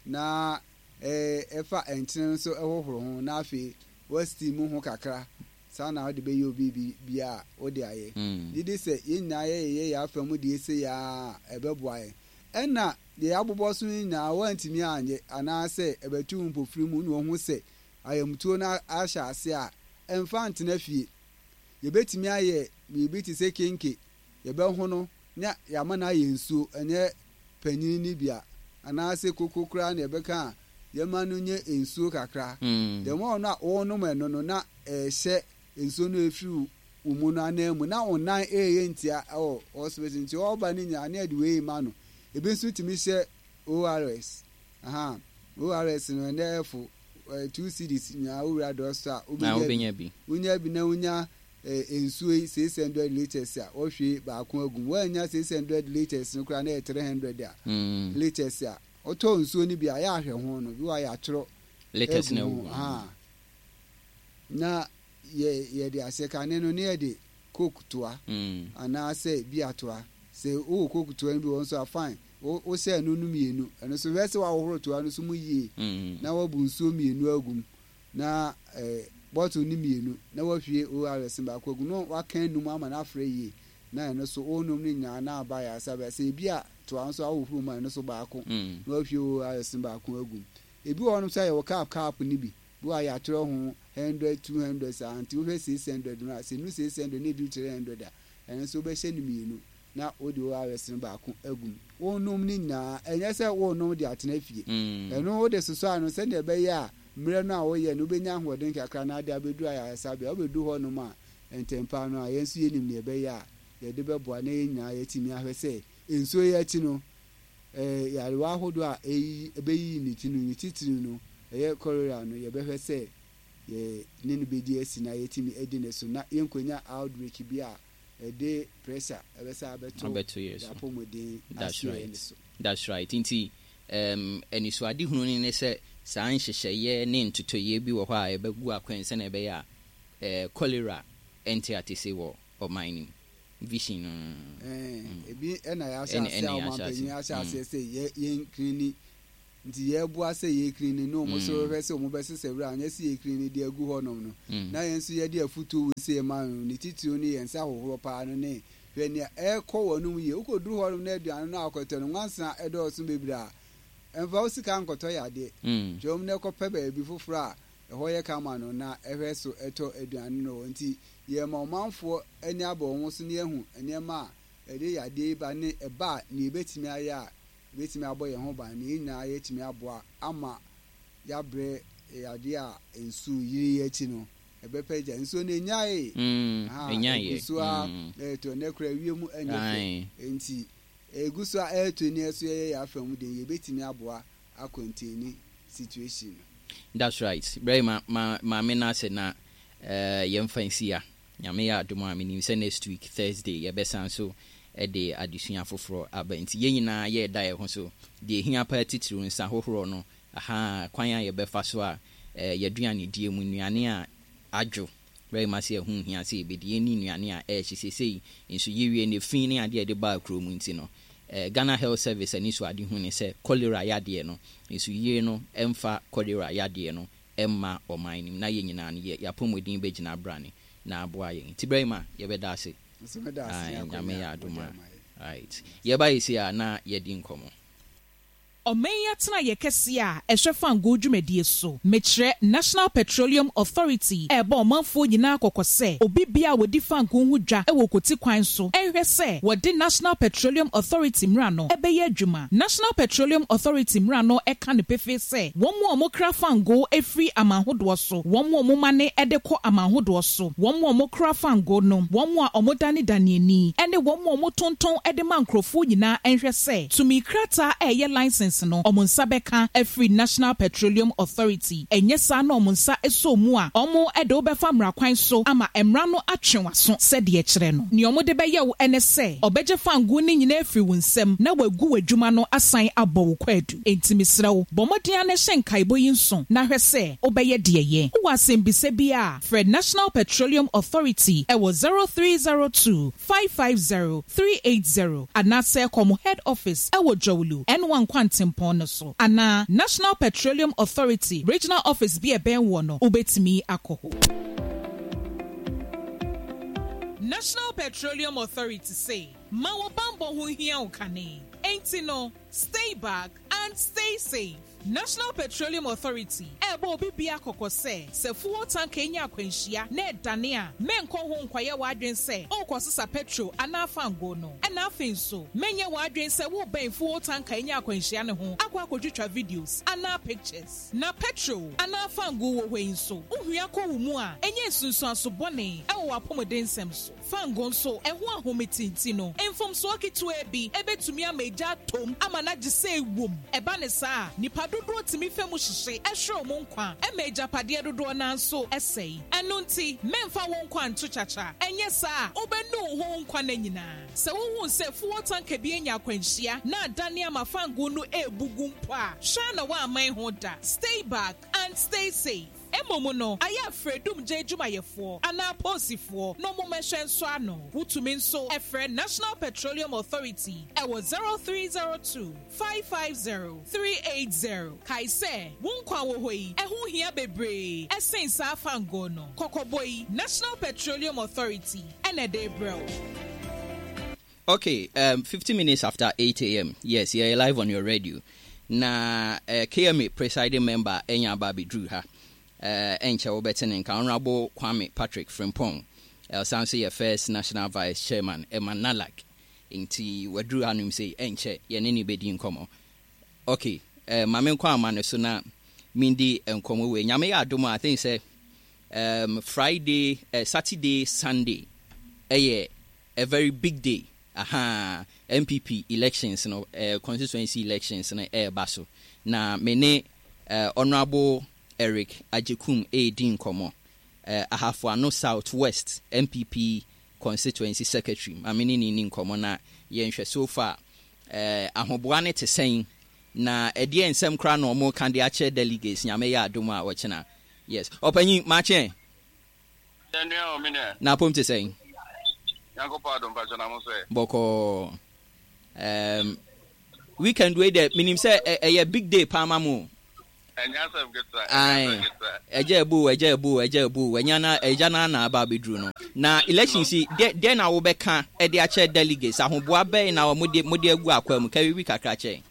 na ɛfa nkyene nso ɛhohoro ho na afei wɔ mu ho kakra saa na wode bɛyɛ obi bi bia a wode ayɛ gye di sɛ yɛn nyinaa yɛyɛ yɛ afa mu deɛ ɛsɛ yɛ a ɛbɛboa yɛn ɛna deɛ yɛabobɔ so nyinaa wɔantumi anyɛ anaasɛ ɛbɛtu mpofiri mu na wɔn ho sɛ ayamtuo no ahyɛ ase a, ɛmfa ntena fie. Yɛbɛtumi ayɛ biribi te sɛ kenke, yɛbɛhono na yɛama no ayɛ nsuo, ɛnyɛ panin no bi a, anaasɛ koko koraa na yɛbɛka a, yɛma no nyɛ nsuo kakra. Mm. The more no a wɔnom ɛno no, na ɛhyɛ nsuo no ɛfiri wo mu no ananmu, na wo nan ɛreyɛ ntia ɛwɔ hospital nti ɔba no nyinaa na yɛde wei ma no. Ebi nso tumi hyɛ O R S. Aha, O R S no ɛnɛ ɛfo two cedis nyinaa wowura drugstore a wobɛnya bi. Wonya bi na wonya nsuo yi six hundred litres a wɔhwie baako agu mu. Woannya six hundred litres no koraa na yɛ three hundred a mm. litres a wotɔ nsuo no bi a yɛ ahwɛ ho no bi wɔ yɛ atwerɛ litres na agu ho. Na yɛ yɛde ahyɛ kane no ne yɛde Coke toa mm. anaasɛ bia toa. Sɛ wowɔ Coke toa no bi wɔ nso a, fine, wohyɛ ɛno no mmienu. Ɛno nso hwɛ sɛ woahohoro toa no so mu yie mm. na woabu nsuo mmienu agu mu na eh, bottle no mmienu na woahwie O R S baako agu na waka enum ama no afrɛ yie na ɛno so wonom no nyinaa na aba yɛ asa bɛ sɛ ebi a toa nso ahohoro mu a ɛno so baako mm. na woahwie O R S baako agu mu. Ebi wɔ hɔnom sɛ yɛwɔ cup cup no bi bi wɔ a yɛatwerɛ ho hundred, two hundred saa nti wohwɛ six hundred no a sɛ nu six hundred na eduru three hundred a ɛno nso wobɛhyɛ no mmienu na wode O R S no baako agu mu. Wonom no nyinaa, ɛnyɛ sɛ wonom de atena fie. Ɛno wode sosɔ ano sɛnea ɛbɛyɛ a mmerɛ no a woyɛ no wobɛnya ahoɔden kakra na ade abɛduru ayaresabea. Wobɛdu hɔnom a ntɛmpa no a yɛn nso yɛnim nea ɛbɛyɛ a yɛde bɛboa na yɛn nyinaa yɛatumi ahwɛ sɛ nsuo yi akyi no yarewa ahodoɔ a ɛyi ɛbɛyiyi ne ti no ne titiri no ɛyɛ cholera no yɛbɛhwɛ sɛ yɛ ne no bɛdi asi na yɛtumi adi ne so na yɛnkɔnya outbreak bi a ɛde pressure ɛbɛsa abɛto abɛto yɛ so. Apɔmuden That's asoɛ right. ne so. That's right. Nti um, anisoadehunu no ne sɛ saa nhyehyɛeɛ ne ntotoeɛ bi wɔ hɔ a ɛbɛgu akwan sɛnea ɛbɛyɛ a eh, cholera Ɛnte atese wɔ ɔman no mu. Vision no. Ɛɛ, ebi ɛna yɛahyɛ ase a ɔmanpanyin ahyɛ aseɛ sɛ yɛ yɛn clean, nti yɛboa sɛ yɛ clean ne ɔmo nso hwɛ sɛ ɔmo bɛsesa wura, anyɛ sɛ yɛ clean de agu hɔnom no, na yɛn nso yɛde afutuo wei sɛ yɛma no ne titiriw ne yɛn nsa ahohoro paa no, ne hwɛ nea ɛrekɔ wɔn mu yie. Wokɔduru hɔnom na aduane no akɔtɔ no, nwansena ɛdɔɔso bebree a, ɛmfa wo sika nkɔtɔ yadeɛ. Twɛm na ɛkɔpɛ baabi foforɔ a ɛhɔ yɛ kama no na ɛhwɛ so ɛtɔ aduane no. Nti yɛma ɔmanfoɔ ani abɔ wɔn so ne yɛhu nneɛma a ɛde yadeɛ yi ba ne ɛba a, nea ebɛtumi ayɛ a ebɛtumi abɔ yɛn ho ban ne yɛn nyinaa yɛtumi aboa ama yɛabrɛ yadeɛ a nsuo yiri yi akyi no ɛbɛpɛ gya. Nsuo no enyae, egu so a ɛɛtɔ ne kora wiem ɛnyɛ fɛ, nti egu so a ɛɛtɔ ni ɛso yɛyɛ yɛ afa mu den, yɛbɛtumi aboa acontain situation no. That's right. Brɛ ma ma maame no ase na uh, yɛmfa nsi a Nyame yɛ adom a, menim sɛ next week Thursday yɛbɛsan so de adesua foforɔ aba. Nti yɛn nyinaa yɛreda yɛn ho so. Deɛ ehia paa titiriw, nsa hohoroɔ no, aha kwan a yɛbɛfa so a eh, yɛaduane die mu nnuane a adwo bɛyɛ ma sɛ ɛho hia sɛ yɛbɛdi, yɛnni nnuane a ɛɛhye. Seesei nso yɛwie ne fi ne adeɛ a yɛde baa kurom nti no, eh, Ghana Health Service ani so ade hu ne sɛ cholera yadeɛ no nso yie no, ɛmfa cholera yadeɛ no ɛmma ɔman no mu, na yɛn nyinaa no yɛ yɛapɔmuden bɛgyina abrane na aboa yɛn. Nti bɛrɛ ma yɛbɛda ase. Nso meda ase ne Aye, Nyame akonnwa yɛ adom a a wode ama yɛn. Right, yɛba yɛsi a na yɛdi nkɔmmɔ. Ɔman yi atena yɛ kɛseɛ a ɛhwɛ fangoo dwumadie so, mekyerɛ National Petroleum Authority, ɛrebɔ ɔmanfoɔ nyinaa kɔkɔ sɛ obi bia a wɔdi fangoo ho dwa wɔ koti kwan so ɛnhwɛ sɛ wɔde National Petroleum Authority mmara no ɛbɛyɛ adwuma. National Petroleum Authority mmara no ɛka no pefee sɛ wɔn mu a wɔkra fangoo efiri aman ahodoɔ so, wɔn mu a wɔma ne ɛde kɔ aman ahodoɔ so, wɔn mu a wɔkra fangoo no, wɔn mu a wɔdanedane ani, ɛne wɔn mu a wɔtontɔn ɛde ma nkurɔfoɔ nyinaa ɛnhwɛ sɛ tumi krataa a ɛyɛ license no ɔmo nsa bɛka afiri National Petroleum Authority. Ɛnyɛ saa na ɔmo nsa ɛsɔ mu a, ɔmo ɛde wobɛfa mmara kwan so ama mmara no atwe w'aso sɛdeɛ kyerɛ no. Nea ɔmo de bɛyɛ wo ɛne sɛ ɔbɛgye fangoo no nyinaa afiri wo nsam na wagu w'adwuma no asan abɔ wo kwaadu. Enti mesrɛ wo, bɔ mmɔden a na hyɛ nkaebɔ yi nso na hwɛ sɛ wobɛyɛ deɛ yɛ. Wowɔ asɛmbisa bi a, frɛ National Petroleum Authority ɛwɔ zero three zero two five five zero three eight zero anaasɛ kɔ head office ɛwɔ Dzorwulu N one Kwantempɔn no so, anaa National Petroleum Authority regional office bi ɛbɛn wɔ no, wobɛtumi akɔ hɔ. National Petroleum Authority se ma wo bambɔ ho hia wo kane, enti no stay back and stay safe. National Petroleum Authority ɛbɔ obi bia kɔkɔ sɛ sɛ fuel tanker nya akwanhyia na ɛdane a, menkɔ ho nkɔyɛ w'adwen sɛ wokɔsesa petrol anaa fango no. Ɛna afei nso menyɛ w'adwen sɛ wobɛn fuel tanker nya akwanhyia ne ho akɔ akɔtwitwa videos anaa pictures. Na petrol anaa fango wɔ hɔ yi nso, wohua kɔ wo mu a, ɛnyɛ nsunsuanso bɔne ɛwɔ w'apɔmuden nsɛm so. Fango nso ɛho ahometinti no, mfomsoɔ ketewa bi ɛbɛtumi ama egya atom ama n'agye sɛ ewom. Ɛba ne saa, nipa dodoɔ tumi fɛ mu hyehye ɛhwere wɔn nkwa, ɛma agyapadeɛ dodoɔ nanso ɛsɛe. Ɛno nti mɛmfa wɔn nkwa nto kyakya, ɛnyɛ saa wobɛnu wo ho nkwa no nyinaa. Sɛ wohu sɛ fuel tanker bi anya akwanhyia na adane ama fango no ebugu mpo a, hwɛ na woaman ho da. Stay back and stay safe. Mmom no, ayɛ afrɛ dumgye adwumayɛfoɔ anaa polisifoɔ na ɔmo mmɛhwɛ nso ano. Wotumi nso ɛfrɛ National Petroleum Authority ɛwɔ zero three zero two five five zero three eight zero. Kae sɛ wo nkwa wɔ hɔ yi ɛho hia bebree ɛsen saa fango no. Kɔkɔbɔ yi, National Petroleum Authority ɛna ɛde brɛ wo. Okay, um, fifty minutes after eight a m. Yes, you're live on your radio. Na uh, K M A presiding member enya aba abɛduru ha. Uh, ɛnkyɛ wobɛte ne nka, Honorable Kwame Patrick Frimpong. Ɔsan so yɛ first national vice chairman ɛma NALAG. Nti waduru hanom sɛ ɛnkyɛ yɛne ne bɛdi nkɔmmɔ. Okay, uh, ma menkɔ ama no so na mendi nkɔmmɔ wei. Nyame yɛ adom a, I think sɛ um, Friday, uh, Saturday, Sunday ɛyɛ a very big day. Aha, N P P elections no, uh, constituency elections no ɛreba so. Na me ne uh, Honorable Eric Agyekum ɛredi nkɔmmɔ. Uh, Ahafo South West N P P constituency secretary. Ma me ne ne ni nkɔmmɔ na yɛnhwɛ so far uh, ahoboa ne te sɛn, na ɛdeɛ nsɛm koraa na ɔmo ka de akyerɛ delegates. Nyame yɛ adom a, ɔkyena. Yes, ɔpanyin, makyɛn. Yɛnua o, me nua. Na apom te sɛn? Nyankopɔn adom, mpakyɛ, na mo so ɛ? Bɔkɔɔ. Um, weekend wei deɛ, menim sɛ ɛyɛ big day paa ma mo. Ɛnyɛ asɛm ketewa. Ae, ɛgya ebu, ɛgya ebu, ɛgya ebu, ɛnya na ɛgya na na aba abɛduru no. Na election si deɛ deɛ na wobɛka ɛde akyɛ delegates, ahoboa bɛn na wɔn de mo de agu akwa mu? Kɛwi kakra kyɛn.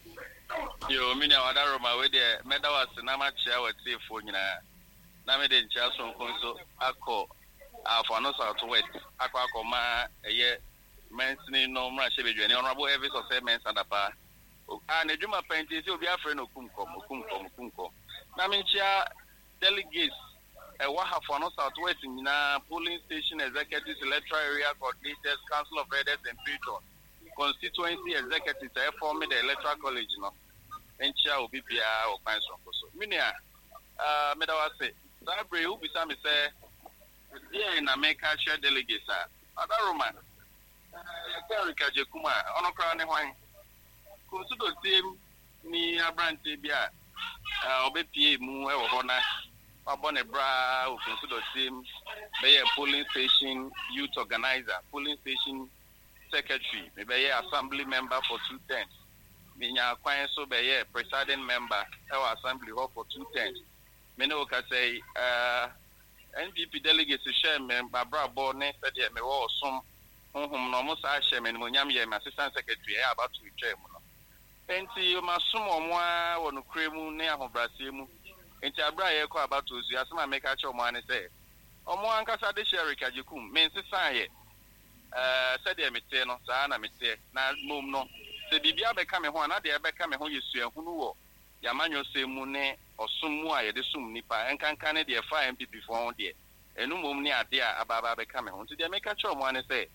Yo, me nua Wadaroma, wei deɛ mɛda wo ase na makyea w'atiefoɔ nyinaa, na mede nkyea sononko nso akɔ Ahafo South West akɔ akɔma ɛyɛ mansini no mmarahyɛbadwani, Honourable Elvis Osei Mensah Dapaah, a n'adwuma pa nti sɛ obi afrɛ no Okum Kɔm, Okum Kɔm, Okum Kɔm. Na menkyea delegates ɛwɔ Ahafo South West nyinaa, polling station executives, electoral area coordinators, council of elders and patrons, constituency executives a ɛform the electoral college no. Nkyea obi biara wɔ kwan sononko so. Me nua, uh, meda wo ase. Saa bere yi wobisa me sɛ deɛn na meka kyerɛ delegates a, Adaroma, yɛka Eric Agyekum a, ɔno koraa ne hwan? Kunsudotie ni aberanteɛ bi a ɔbɛpie mu wɔ hɔ na wabɔ ne bra wɔ Kunsudotie mu, bɛyɛ polling station youth organizer, polling station secretary, mebɛyɛ assembly member for two terms, menya kwan so bɛyɛ presiding member ɛwɔ assembly hɔ for two terms. Me ne wo kasa yi, uh, N P P delegates hyɛ me mabrabɔ ne sɛdeɛ mewɔ ɔsom honhom no, ɔmo saa hyɛ me animonyam yɛ me assistant secretary ɛyɛ abato etwa mu no. Nti masom ɔmo ara wɔ nokorɛ mu ne ahobrɛaseɛ mu. Nti abere a yɛrekɔ abato so, asɛm a meka kyerɛ ɔmo ara ne sɛ ɔmo ankasa de hyɛ Eric Agyekum, me nsesaeɛ. ɛɛ sɛdeɛ meteɛ no, saa na meteɛ. Na mmom no, sɛ biribi abɛka me ho a, na deɛ ɛbɛka me ho yɛ suahunu wɔ yɛamanyɔsɛm mu ne ɔsom mu a yɛde som nipa, nkanka ne deɛ ɛfa N P P foɔ ho deɛ, ɛno mmom ne adeɛ a aba aba abɛka me ho. Nti deɛ meka kyerɛ ɔmo ara ne sɛ,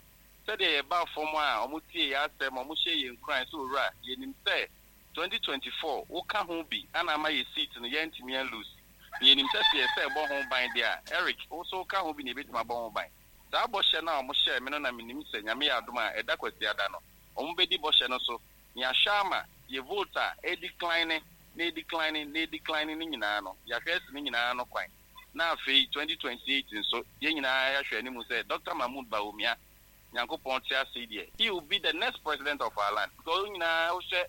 sɛdeɛ yɛba fam a ɔmo tie yɛ asɛm, ɔmo hyɛ yɛn nkuran sɛ, owura, yɛnim sɛ twenty twenty-four woka ho bi ana ama yɛ seat no yɛntumi anlose, na yɛnim sɛ sɛ yɛsɛ ɛbɔ ho ban deɛ a, Eric, wo so woka ho bi na yɛbɛtumi abɔ ho ban. Saa bɔhyɛ no a ɔmo hyɛɛ me no, na menim sɛ Nyame yɛ adom a, ɛda Kwasiada no ɔmo bɛdi bɔhyɛ no so na yɛahwɛ ama yɛ vote a ɛdecline na ɛdecline na ɛdecline no nyinaa no, yɛahwɛ asi no nyinaa no kwan. Na afei twenty twenty-eight nso, yɛn nyinaa yɛahwɛ anim sɛ Doctor Mahmood Bawumia, Nyankopɔn te ase yi deɛ, he will be the next president of our land, because wo nyinaa wohwɛ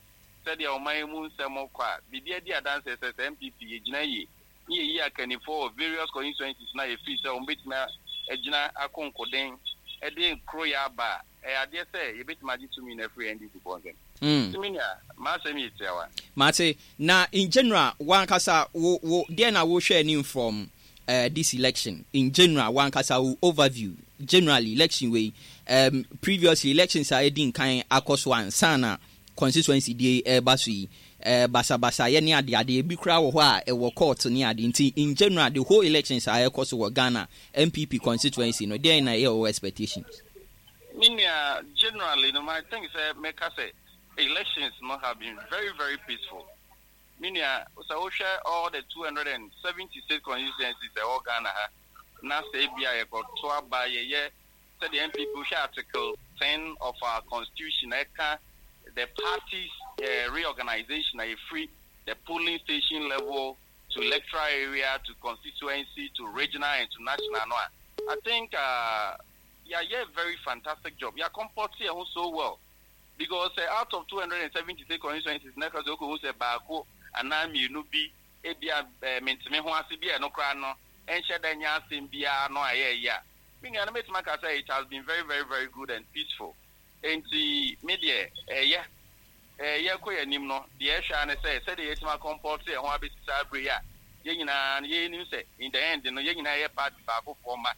sɛdeɛ ɔman yi mu nsɛm kɔ a, biribi adi adanseɛ sɛ sɛ N P P yɛgyina yie ne yɛyi akannifoɔ wɔ various constituencies na yɛfiri sɛ wɔn bɛtumi agyina akonkoden de koro yɛ aba a, ɛyɛ adeɛ sɛ yɛbɛtumi agye tumi no afiri N D C foɔ nsɛm. Mm. Tumi nea m'asɛm yɛ tiawa. Mate. Na in general, wankasa wo wo deɛ na wohwɛ anim from uh, this election in general, wankasa wo overview generally, election wei, um, previously elections a ɛdi nkan akɔ so ansa na constituency die ɛreba so yi, uh, basabasayɛ ne adeade ebi koraa wɔ hɔ a ɛwɔ court ne ade. Nti in general, the whole elections a ɛkɔ so wɔ Ghana, N P P constituency no, deɛn na ɛyɛ wɔ expectations? Me nua, generally no, I think sɛ mɛka sɛ elections no have been very very peaceful. Me nua, sɛ wohwɛ all the two hundred and seventy six constituencies ɛwɔ Ghana ha na sɛ ebi a yɛkɔto aba, yɛyɛ sɛdeɛ N P P, wohwɛ article ten of our constitution ɛka the party's uh, reorganization a yɛfiri the polling station level to electoral area to constituency to regional and to national no a, I think uh, yɛayɛ very fantastic job. Yɛ comport yɛn ho so well because uh, out of two hundred and seventy six constituencies na ɛka sɛ okòhu sɛ baako anaa mmienu bi ebi a ɛɛ menteme ho ase bi a, ɛno koraa no ɛnhyɛ dɛ nyɛ asɛm biara no a ɛyɛ ɛyɛ a, me nua no, mɛtumi aka sɛ it has been very very very good and peaceful. Nti me deɛ, ɛyɛ ɛyɛ kɔ yɛn anim no deɛ, ɛhwɛ ano sɛ sɛdeɛ yɛtumi acomport yɛn ho abɛsi saa abere yi a, yɛn nyinaa no yɛnim sɛ in the end no, yɛn nyinaa yɛ party baakofoɔ ma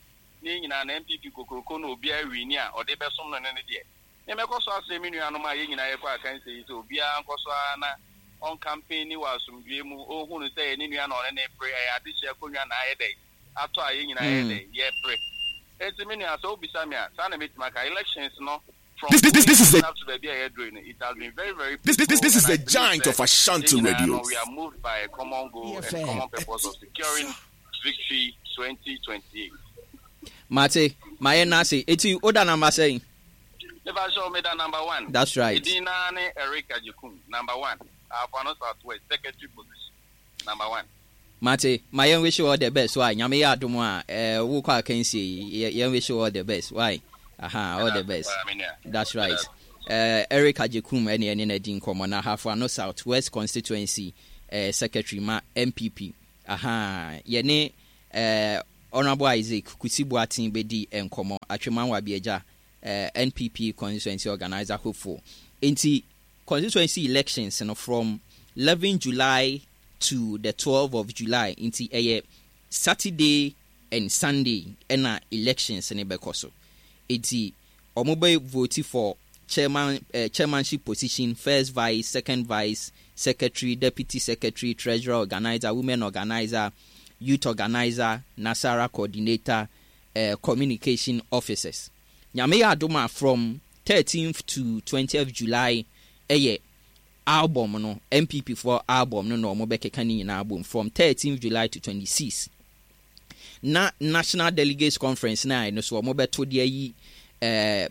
ne yɛn nyinaa na N P P kokoroko no, obiara win a ɔde bɛsom no no ne deɛ ne mɛkɔ so asrɛ me nuanom a yɛn nyinaa yɛkɔ akansie yi sɛ obiara nkɔ so ara na ɔncampaign wɔ asomdwe mu, ɔnhunu sɛ yɛ ne nua na ɔne ne pere, ɛyɛ adehyɛ akonnwa na ayɛ dɛ atɔ a yɛn nyinaa yɛ dɛ yɛpere. Enti me nua, sɛ wobisa me a, saa na mɛtumi aka elections no from This, this, this is the up to baabi a yɛduru no, it has been very very this, this, this, this is peaceful, the and I believe giant sɛ of Ashanti yɛn nyinaa Radio. no, we are moved by a common goal and F M. common purpose of securing victory twenty twenty-eight. Mate, mayɛ n'ase. Eti woda number sɛn? Never show me that number one. That's right. Edin naa ne Eric Agyekum, number one. Ahafo South West, secretary position, number one. Mate, ma yɛn wish you all the best. Why? Nyame yɛ adom a, eh, wokɔ akansie yi, yɛn wish you all the best. Why? Aha, all the best. That's right. Uh, Eric Agyekum ɛne ɛne na di nkɔmmɔ na Ahafo Ano South West Constituency uh, Secretary ma N P P. Aha, yɛne uh, Honorable Isaac Kusi Boateng bɛdi nkɔmmɔ, Atwima Nwabiagya uh, N P P constituency organizer hopeful. Nti constituency elections no, from eleven July to the twelve of July, nti ɛyɛ Saturday and Sunday ɛna elections ne bɛkɔ so. Nti ɔmo bɛ vote for chairman, uh, chairmanship position, first vice, second vice, secretary, deputy secretary, treasurer, organizer, women organizer, youth organizer, Nasara coordinator, uh, communication officers. Nyame yɛ adom a, from thirteenth to twentieth July ɛyɛ album no, N P P for album no na ɔmo bɛkeka ne nyinaa bom from thirteenth July to twenty-six, na National Delegates Conference na ɛno so ɔmo bɛto de ayi uh,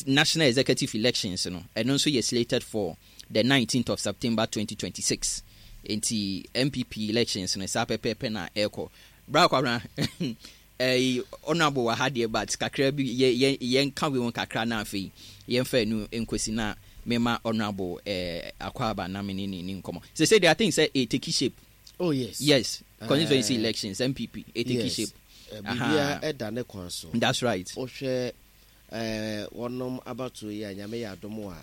national executive elections no. Ɛno nso yɛ slated for the nineteenth of September twenty twenty-six. Nti N P P elections no, saa pɛpɛɛpɛ na ɛrekɔ. Bra Kwabena, ɛyi Honorable wɔ ha deɛ, but kakra bi yɛ yɛ yɛnka wei ho kakra na afei yɛmfa ɛnu nkosi na mema Honorable ɛɛ akɔ aba na me ne ne ne nkɔmɔ sɛ sɛ deɛ, I think sɛ ɛ take shape. Oh yes. Yes, constituency uh, elections, N P P ɛ take yes. shape. Biribiara ɛda ne kwan so. That's right. Wohwɛ ɛɛ wɔnom abatoɔ yi a, Nyame yɛ adom a,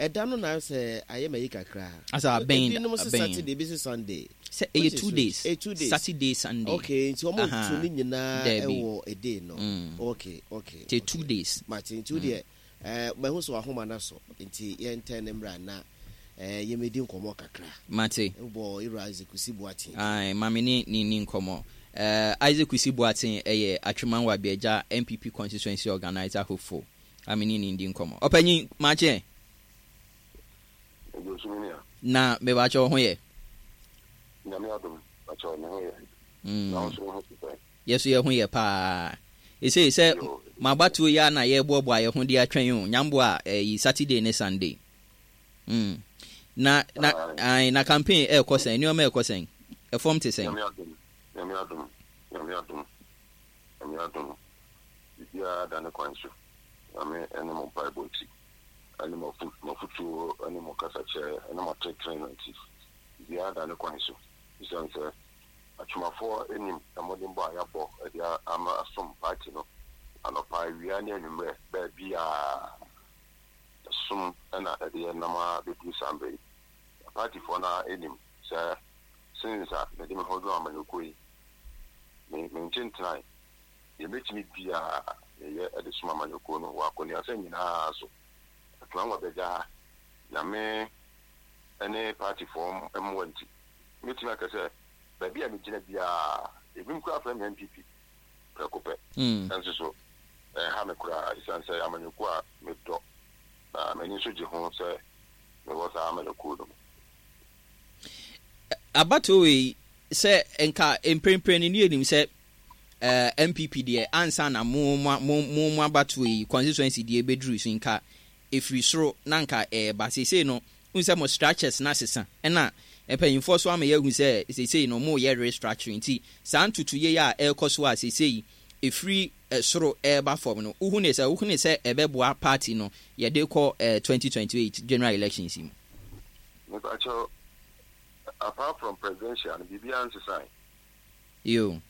ɛda no na sɛ ayɛ ma yi kakra. Asa abɛn. Ebinom sɛ Saturday, ebi sɛ Sunday. Sɛ ɛyɛ two days. Ɛyɛ two days. Saturday, Sunday. Okay, nti wɔn tu ne nyinaa ɛwɔ a day no mm. okay okay Te two days. Mate, nti o deɛ ɛɛ mahu so ahoma na so, nti yɛn ntɛn ne mmra na ɛɛ yɛmɛdi nkɔmɔ kakra. Mate. Bɔ ewura Isaac Kusi Boateng. Ayi, maame ne ne ni nkɔmɔ. ɛɛ Isaac Kusi Boateng ɛyɛ Atwima Nwabiagya N P P constituency organizer hopeful. Maame ne ne di nkɔmɔ. Ɔpanyin, maakye. Na mebakyɛ wo ho yɛ? Nyame adom, bakyɛ me ho yɛ. Na wo nso wo ho te sɛn? Yɛso yɛ ho yɛ paa. Ɛsei sɛ mabatoɔ yi a na yɛboaboa yɛ ho de atwɛn o, nyamboa a ɛyi Saturday ne Sunday mm. na na ai, na campaign ɛɛkɔ sɛn? Nneɛma ɛɛkɔ sɛn? Ɛfɔm te sɛn? Nyame adom, Nyame adom, Nyame adom, Nyame adom, biribiara da ne kwan so. Nyame ɛne mo mpaebɔ nti, ɛne mo afotuo, ɛne mo kasakyerɛ, ɛne mo atenetene no nti, biribiara da ne kwan so. Ɛsiane sɛ atwomafoɔ anim mmɔdenbɔ a yɛabɔ de ama asom party no anɔpa, awia ne anwummerɛ, baabiaa ɛsom ɛna ɛde yɛ nam a bɛduru saa mmerɛ yi. Partyfoɔ no anim sɛ since a mede me ho dwom amanyɔkuo yi, me mente ntenae deɛ mɛtumi biaa meyɛ ɛde som amanyɔkuo no wɔ akɔneasɛ nyinaa so. Atwima Nwabiagya ha, Nyame ne partyfoɔ mmoa nti, mɛtumi aka sɛ baabi a megyina biaa, ebinom koraa frɛ me N P P prɛko pɛ. Ɛnso so ɛha me koraa, ɛsiane sɛ amanyɔkuo a medɔ na m'ani nso gye ho sɛ mewɔ saa amanyɔkuo no mu. Abatoɔ wei sɛ nka mprempren no ne yɛnim sɛ uh, N P P deɛ, ansa na mo mo mo mo abatoɔ yi constituency deɛ bɛduru so, nka ɛfiri soro na nka ɛɛba. Seesei no, n sɛ mo structures na sesa, ɛna mpanyinfoɔ so ama yɛahu sɛ seesei no mo yɛ restructuring, nti saa ntotoyɛ yi a ɛrekɔ so a seesei ɛfiri soro ɛreba fam no, wohu ne sɛ wohu ne sɛ ɛbɛboa party no yɛde kɔ ɛɛ twenty twenty eight general elections yi mu? Mepakyɛw, apart from presidential no, biribiara nsesan. Yo.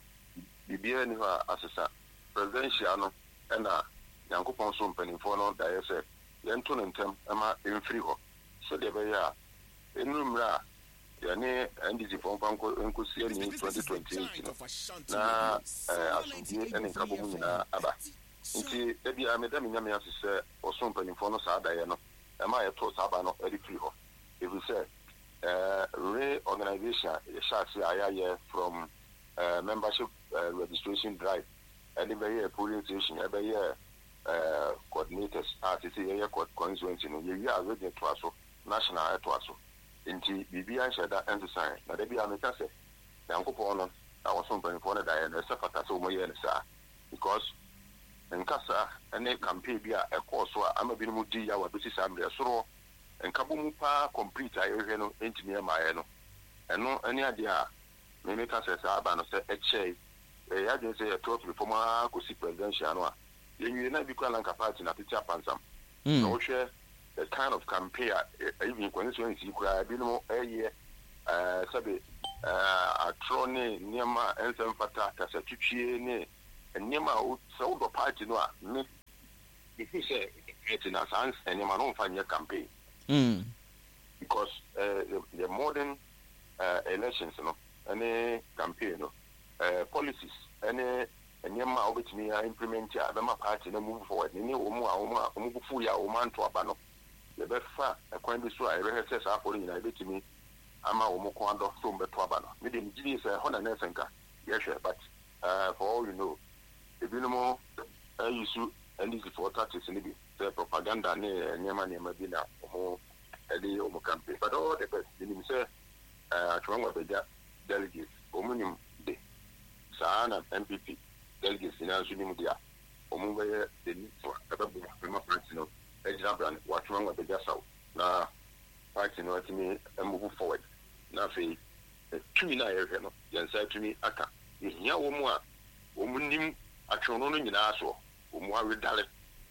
Biribiara ni hɔ a asesa. Presidential no ɛna Nyankopɔn so mpanimfoɔ no daeɛ sɛ yɛnto no ntɛm ma ɛmfiri hɔ sɛdeɛ ɛbɛyɛ a ɛnuru mmerɛ a yɛne N D C foɔ mfa nkɔsi ani twenty twenty-eight no na asomdue ne nkabɔ mu nyinaa aba. Nti da biara meda me Nyame ase sɛ ɔso mpanimfoɔ no saa daeɛ no ɛma yɛtoo saa ba no de firi hɔ, ɛfiri sɛ reorganization a yɛhyɛ ase a yɛayɛ from membership registration drive ɛde bɛyɛ polling station, ɛbɛyɛ coordinators a sisi yɛyɛ constituency no, yɛwie a region toa so, national ɛtoa so. Nti biribiara nhyɛ da nsesan. Na da biara meka sɛ Nyankopɔn no na wɔso mpanimfoɔ no daeɛ no, ɛsɛ fata sɛ wɔyɛɛ no saa, because nkasa ne campaign bi a ɛkɔɔ so a ama binom di yaw a bɛsi saa mmerɛ soro nkabɔ mu paa complete a yɛhwɛ no ntumi ɛmaeɛ no, ɛno ne adeɛ a Me meka sɛ saa aba no sɛ ɛkyɛe, ɛyɛ adwene sɛ yɛto afiri fam ara kɔsi presidential no a, yɛnwie na bi koraa na nka party no atete apansam. Na wohwɛ the kind of campaign a even constituency koraa ebinom ɛyɛ, ɛɛ sɛbe ɛɛ atorɔ ne nneɛma a ɛnsɛ mfata, kasatwitwie ne nneɛma a sɛ wodɔ party no a, me mehu sɛ party na saa nneɛma no womfa nyɛ campaign. Mm. Because uh, the, the modern uh, elections no ɛne campaign no, uh, policies ɛne nneɛma a wobɛtumi a implement a ɛbɛma party no move forward ne ne wɔn a wɔn a wɔn bufu yɛ a wɔn anto aba no, yɛbɛfa ɛkwan bi so a yɛbɛhwɛ sɛ saa afɔ no nyinaa yɛbɛtumi ama wɔn kɔn adɔ so wɔn bɛto aba no. Me de, megye di sɛ ɛhɔ na nɛɛsɛ nka yɛhwɛ, but uh, for all you know, ebinom ayi so N D C foɔ tactics no bi sɛ propaganda ne nneɛma nneɛma bi na wɔn ɛde yɛ wɔn campaign. But all the best, menim sɛ Atwima Nwabiagya delegates wɔn nim de saa na N P P delegates nyinaa nso nim de a wɔn bɛyɛ the needful a ɛbɛboa ɛma party no agyina brane wɔ Atwima Nwabiagya South na party no atumi move forward. Na afei tumi no a yɛhwɛ no, yɛn nsa atumi aka. Yɛhia wɔn a wɔn nim atwene no nyinaa soɔ, wɔn awedare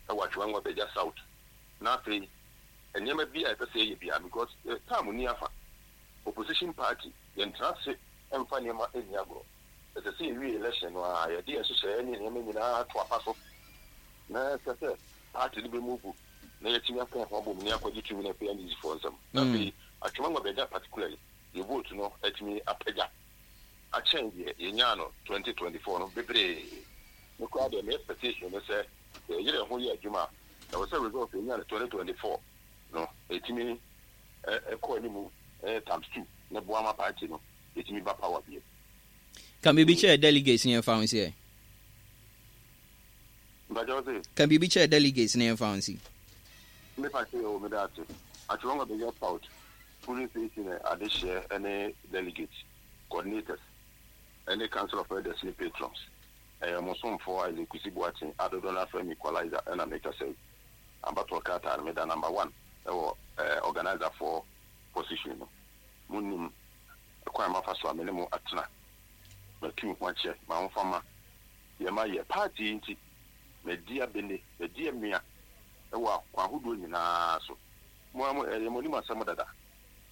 ɛwɔ Atwima Nwabiagya South. Na afei nneɛma bi a yɛpɛ sɛ yɛyɛ bia, because time ni afa opposition party, yɛntena ase mfa nneɛma nni agorɔ. Ɛsɛ sɛ yɛwie election no a, yɛde yɛn hyehyɛeɛ ne nneɛma nyinaa to apa so na ɛsɛ sɛ party no bɛmove na yɛtumi aka ho abom ne akɔgye tumi no afei N D C foɔ nsɛm. Na afei Atwima Nwabiagya particularly, yɛ vote no atumi apagya akyɛn deɛ yɛnyaa no twenty twenty-four no bebree. Me koraa deɛ, me expectation no sɛ yɛyere ho yɛ adwuma a, ɛwɔ sɛ result yɛnyaa no twenty twenty-four no ɛtumi ɛkɔ anim times two na boa ma party no ɛtumi ba power bio. Ka biribi kyerɛ delegates ne yɛmfa ho si ɛ. Mpakyɛw sɛ? Ka biribi kyerɛ delegates ne yɛmfa ho si. Mepa kyɛ o, meda ase. Atwima Nwabiagya South polling station adehyeɛ ne delegates, coordinators ne council of elders ne patrons, ɛyɛ mo somfoɔ Isaac Kusi Boateng a dodoɔ no afrɛ me Equalizer ɛna mekasa yi. Abatoɔ krataa no, meda number one ɛwɔ organizer for position no. Monim kwan mafa so a me ne mo atena, matu ho akyɛ ma ho ma yɛma yɛ party yi, nti madi abene, madi amia ɛwɔ akwan ahodoɔ nyinaa so. Mo a ɛyɛ mo anim asɛm dada,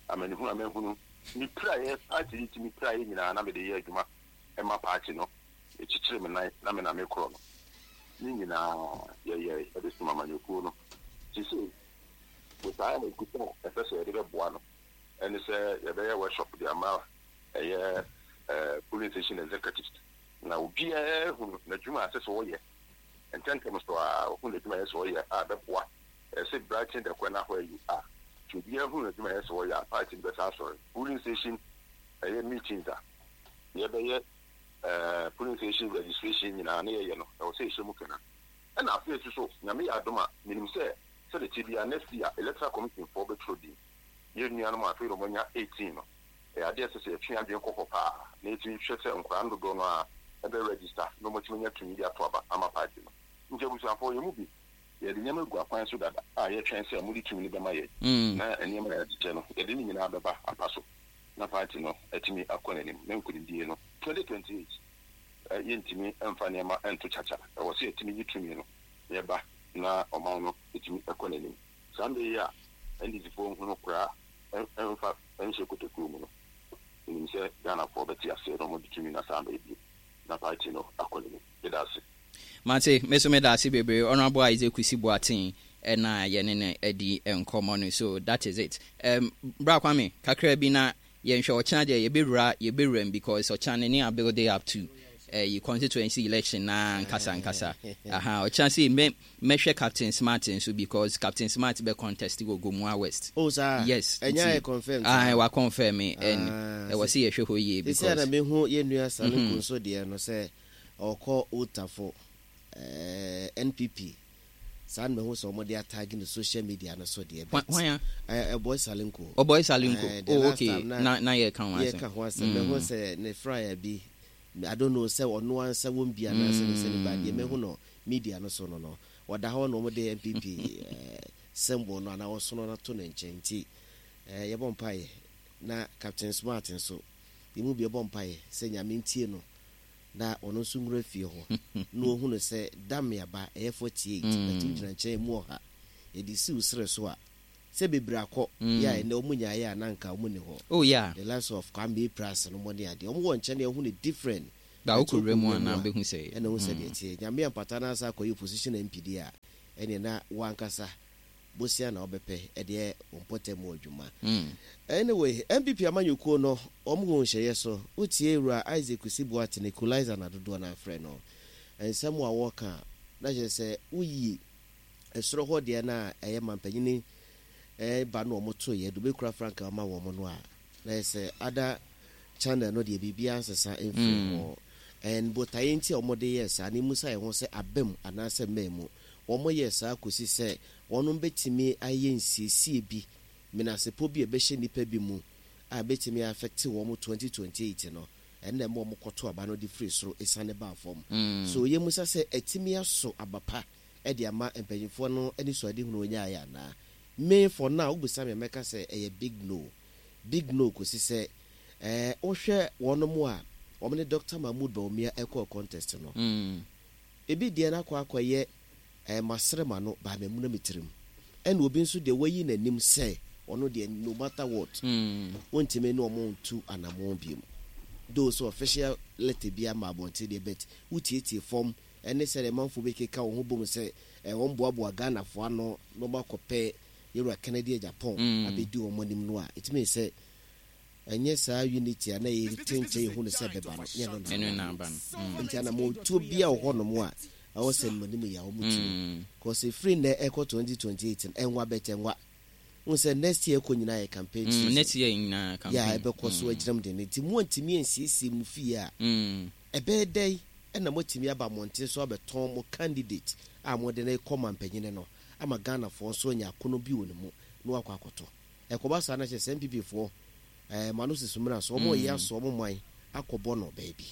amanehunu a mahunu, mepira yɛ party yi, nti mepira yɛ nyinaa na mede yɛ adwuma ɛma party no. Ɛkyikyiri me nan na me na mekorɔ no ne nyinaa yɛyɛ ɛde som amanyɔkuo no. Sisi botaeɛ a ɛkuta a ɛpɛ sɛ yɛde bɛboa no ɛne sɛ yɛbɛyɛ workshop de ama ɛyɛ ɛɛ polling station executives na obiara hunu n'adwuma a ɛsɛ sɛ ɔyɛ ntɛntɛm so a ɔhunu n'adwuma a ɛsɛ sɛ ɔyɛ a bɛboa. Ɛsɛ brighten the corner where you are, nti obiara hunu n'adwuma a ɛsɛ sɛ ɔyɛ a, party no bɛsa asɔre. Polling station ɛyɛ meetings a yɛbɛyɛ, ɛɛ polling station registration nyinaa ne yɛyɛ no, ɛwɔ sɛ yɛhyɛ mu kena. Ɛna afei nso so, Nyame yɛ adom a, menim sɛ sɛde te bia, next year Electoral Commission foɔ bɛtwerɛ din yɛn nuanom a afei na wɔanya eighteen no. Ɛyɛ adeɛ sɛ sɛ yɛtwe adwene kɔ hɔ paa na yɛtumi hwɛ sɛ nkwaraa no dodoɔ no a ɛbɛ register na wɔatumi anya tumi de ato aba ama party no. Nti abusuafoɔ, yɛn mu bi yɛde nneɛma gu akwan so dada a yɛtwɛn sɛ mode tumi no bɛma yɛ na nneɛma a yɛakyekyɛ no, yɛde ne nyinaa bɛba apa so na party no atumi akɔ n'anim na nkonimdie no twenty twenty-eight yɛntumi mfa nneɛma nto kyakya. Ɛwɔ sɛ yɛtumi yi tumi no yɛba na ɔman no ɛtumi ɛkɔ n'anim. Saa mbɛ yi a N D C foɔ nhunu koraa mfa nhyɛ kotokuo mu no, menim sɛ Ghanafoɔ bɛte aseɛ na ɔmode tumi na saa mbɛ bio na party no akɔ n'anim. Meda ase. Mate, me so meda ase bebree. Honorable Isaac Kusi Boateng ɛna yɛne no adi nkɔmmɔ no. So that is it. um, bra Kwame, kakra bi na yɛnhwɛ. Ɔkyena deɛ yɛbɛwura yɛbɛwura mu because ɔkyena ne ne a build up to uh, constituency election na nkasa nkasa aha. Ɔkyena sɛ mɛ mɛhwɛ Captain Smart nso because Captain Smart bɛ contest wɔ Gomoa West. Oh saa? Yes. Ɛnyɛ ayɛ confirm? Ah, wa confirm me ɛn ɛwɔ sɛ yɛhwɛ hɔ yie. Because sɛ na mehu yɛn nua Salenko nso deɛ no sɛ ɔkɔ Otafo ɛɛ N P P saa na mehu sɛ wɔde atag no social media no so deɛ. Hwan a? Ɔbɔy Salenko. Ɔbɔy Salenko, oh okay, na na yɛ ka ho asɛm. Yɛ ka ho asɛm. Mehu sɛ ne flyer bi, I don't know sɛ ɔno ansa wɔm bi anaasɛ ne sɛ ne ba deɛ, mehu no media no so no no wɔda hɔ na wɔde N P P ɛɛ symbol no anaa ɔsono no ato ne nkyɛn, nti ɛɛ yɛbɔ mpaeɛ na Captain Smart nso Yɛmu bi ɛbɔ mpaeɛ sɛ Nyame ntie no na ɔno nso nwura fie hɔ na ɔhunu sɛ Damiaba ɛyɛ forty eight but wogyina nkyɛn mu ɔha yɛde si wo serɛ so a sɛ bebree akɔ yɛ a ɛnɛ ɔmo nyaeɛ a na nka ɔmo ni hɔ. Oh yeah. The likes of Kwame Pras no mo ne adeɛ ɔmo wɔ nkyɛn na ɛhu ne different. Ba wokɔ wura mu a na bɛhu sɛ ɛna hu sɛ deɛ teɛ Nyame ampata no asa akɔyɛ opposition M P deɛ a, ɛneɛ na wankasa bosia na wobɛpɛ ɛdeɛ wo mpɔtam mu adwuma. Anyway, N P P amanyɔkuo no ɔmo wɔ nhyɛeɛ so. Wotie Wura Isaac Kusi Boateng, Equalizer na dodoɔ no afrɛ no, nsɛm a wɔka na kyerɛ sɛ woyi ɛsoro hɔ deɛ no a ɛyɛ mampanyini ɛba no ɔmo toeɛ de wobɛkura frankaa ma wɔ mo no a, na yɛ sɛ ada channel no deɛ biribiara nsesa mfiri hɔ. And botaeɛ nti a wɔde yɛɛ saa ne mu sa yɛn ho sɛ aba mu anaasɛ mmaa mu, wɔn yɛ saa kɔsi sɛ wɔn bɛtumi ayɛ nsiesie bi, menasepɔ bi a ɛbɛhyɛ nnipa bi mu a bɛtumi affect wɔn twenty twenty-eight no. Ɛnna ɛma wɔn kɔto aba no de firi soro esiane baa fam. So yɛ musa sɛ ɛtumi aso aba pa ɛde ama mpanyinfoɔ no ani so ade hunu onyaayɛ anaa? Me, for now, wobisa me, mɛka sɛ ɛyɛ big no, big no, kɔsi sɛ ɛɛ wohwɛ wɔn mu a wɔn ne Doctor Mahmood Bawumia ɛkɔɔ contest no, Mm. ebi deɛ no akɔ akɔyɛ ɛɛ masere ma no baa mɛmu na me tirim, ɛna obi nso deɛ wayi n'anim sɛ ɔno deɛ, no matter what, Mm. wɔntumi ne ɔmo ntu anammɔn biom, though so official letter bi ama abɔnten deɛ, but wotietie fam ɛne sɛ manfoɔ bi keka wɔn ho bom sɛ ɛ wɔn boaboa Ghanafoɔ ano na wɔn akɔpɛ Yɛwura Kennedy Agyapong Mm. abɛdi wɔn anim no a, ɛtumi sɛ ɛnyɛ saa unity a na yɛte nkyɛn yɛhu no sɛ bɛba no, nyɛ no. Ɛno na aba no. Mm. Nti anammɔntuo bi a wɔ hɔnom a ɛwɔ sɛ mmanim yɛ a wɔn tu Mm. kɔsɛ firi nnɛ ɛkɔ twenty twenty-eight no, ɛnwa bɛtɛ nwa n sɛ next year kɔ nyinaa yɛ campaign Mm. season. Next year nyinaa campaign. Yɛ a ɛbɛkɔ so agyinam de no, nti mo antumi ansiesie mu fie a, Mm. ɛbɛyɛ dɛn ɛna moatumi aba mmɔnten so abɛtɔn mo candidate a mode no kɔ ma mpanyini no ama Ghanafoɔ nso anya akono bi wɔ ne mu na wakɔ akɔtɔ? Ɛkɔba saa no kyerɛ sɛ N P P foɔ ɛɛ ma no sisi mmira so ɔmo yɛ aso ɔmo man akɔbɔ no baabi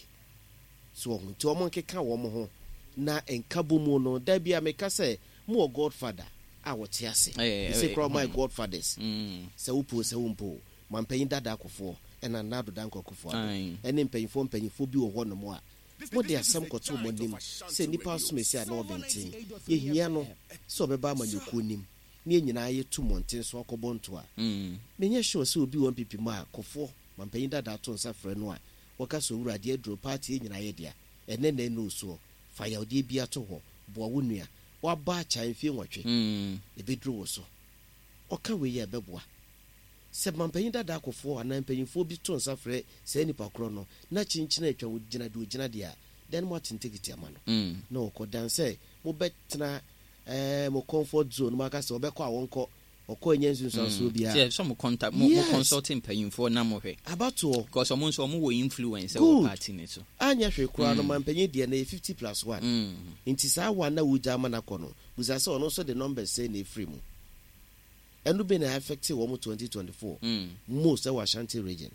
so ɔho, nti ɔmo nkeka wɔn ho na nkabɔ mu no da bi a meka sɛ mo wɔ godfather a wɔte ase Ɛyɛ- ɛsɛ ɛyɛ- koraa ɔmo ayɛ godfathers Mm. sɛ wopo sɛ wompo, mampanyin dada Akɔfoɔ ɛna Nana Addo Dankwa Akufo Addo Aye. ɛne mpanyinfoɔ mpanyinfoɔ bi wɔ hɔnom a mode asɛm kɔto mo anim sɛ nnipa asom esi a na ɔbɛnten yɛhia no sɛ ɔbɛba amanyɔkuo nim ne yɛn nyinaa yɛtu mmɔnten so akɔbɔ nto a, Mm. menyɛ sure sɛ obi wɔ N P P mu a Kɔfoɔ mampanyin dada ato nsa frɛ no a wɔka sɛ, "Owura, adeɛ aduro party yɛ nyinaa yɛ dea, ɛnɛ na ɛna osuo fa yawdeɛ bi ato hɔ, boa wo nua waba akya mfie nwɔtwe Mm. ɛbɛduru wo so." Ɔka wei yɛ ɛbɛboa sɛ mampanyin dada Akɔfoɔ anaa mpanyinfoɔ bi to nsa frɛ saa nipa korɔ no na kyinkyini atwa wo gyina deɛ ogyina deɛ a, then mo ate ntekiti ama no Mm. na ɔkɔ dan sɛ mobɛtena ɛɛ mo comfort zone mo aka sɛ ɔbɛkɔ a wɔnkɔ ɔkɔ ɛnyɛ nsunsuansoɔ biara. Sɛ sɛ mo contact mo mo Yes. consult mpanyinfoɔ na mo hwɛ. Abatoɔ. Because ɔmo nso ɔmo wɔ influence wɔ Good. party ne so. Anyɛ hwee koraa no, mampanyin deɛ no yɛ fifty plus one. Mm. Nti saa one na wogya ama no akɔ no, busa sɛ ɔno nso de numbers sɛ na ɛfiri mu, ɛno bi na affect wɔn twenty twenty-four Mm. most ɛwɔ Ashanti Region,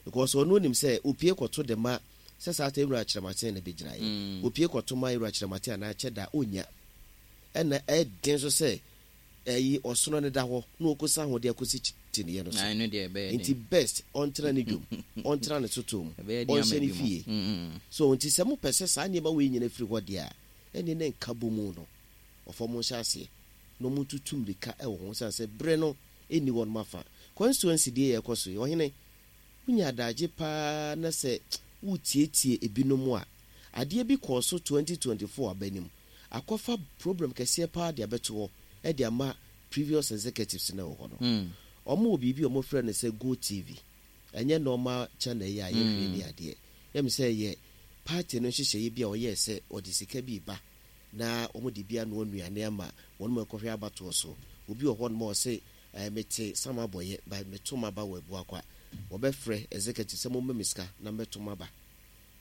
because ɔno nim sɛ opie kɔto de ma sɛ saa ta Ewura Kyerɛmaten na bɛgyina yɛ Mm. opie kɔto ma Ewura Kyerɛmaten anaa kyɛ da onya, ɛna ɛden so sɛ ɛyi ɔsono ne da hɔ na ɔkɔsa ho de akɔsi kyiniiɛ no so. Na ɛno deɛ ɛbɛyɛ Nti den. best ɔntena ne dwom, ɔntena ne soto mu, Ɛbɛyɛ den ama ɔnhyɛ ne bi mu. fie. Mm. So nti sɛ mopɛ sɛ saa nneɛma wei nyina firi hɔ deɛ a, ɛne ne nka bɔ mu no ɔfa mo nhyɛ aseɛ na ɔmo ntutu mmirika ɛwɔ ho sane sɛ berɛ no ɛnni hɔ nom afa constituency deɛ yɛkɔ so yi. Ɔhene, wonya adagye paa na sɛ wotietie ebinom a, adeɛ bi kɔɔ so twenty twenty-four aba nim akɔfa problem kɛseɛ paa de abɛto hɔ ɛde ama previous executives no wɔ hɔ no. Mm. Ɔmo wɔ biribi a ɔmo frɛ no sɛ Go T V, ɛnyɛ normal channel yi a yɛhwɛ ni adeɛ yɛm sɛ yɛ party no nhyehyɛeɛ bi a ɔyɛɛ sɛ ɔde sika bi ba na ɔmo de bi anoa nnuane ama wɔn mu ɛkɔhwɛ abatoɔ so. Obi wɔ hɔ nom a ɔse ɛɛ mete sama abɔyɛ ba meto ma ba wɔ Abuakwa, wɔbɛfrɛ executive sɛ mo me sika na mɛto ma ba.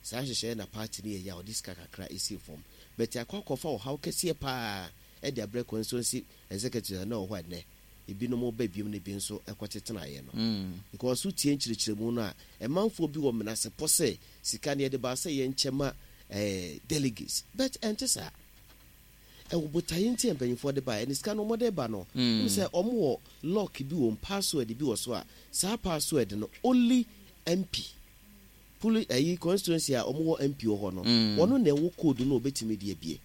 Saa nhyehyɛeɛ na party no yɛ yɛ a ɔde sika kakra esi fam bɛtɛ akɔ akɔfa ɔhaw kɛseɛ paa ɛde abrɛ constituency executive a na wɔ hɔ ɛnɛ ebinom ba biom na ebi nso ɛkɔtetenaeɛ no, Mm. because wotie nkyerɛkyerɛmu no a, ɛmanfoɔ bi wɔ menasepɔ sɛ sika no yɛde baa sɛ yɛnkyɛ ma eh, delegates, but ɛnte saa. Ɛwɔ botaeɛ nti a mpanyinfoɔ de ba. Ɛne sika no ɔmɔde ba no, Mm. mm. sɛ ɔmo wɔ lock bi wɔ mu, password bi wɔ so a saa password no only M P Puli ayi constituency a ɔmo wɔ M P wɔ hɔ no, wɔno na ɛwɔ code no a obetumi de abie.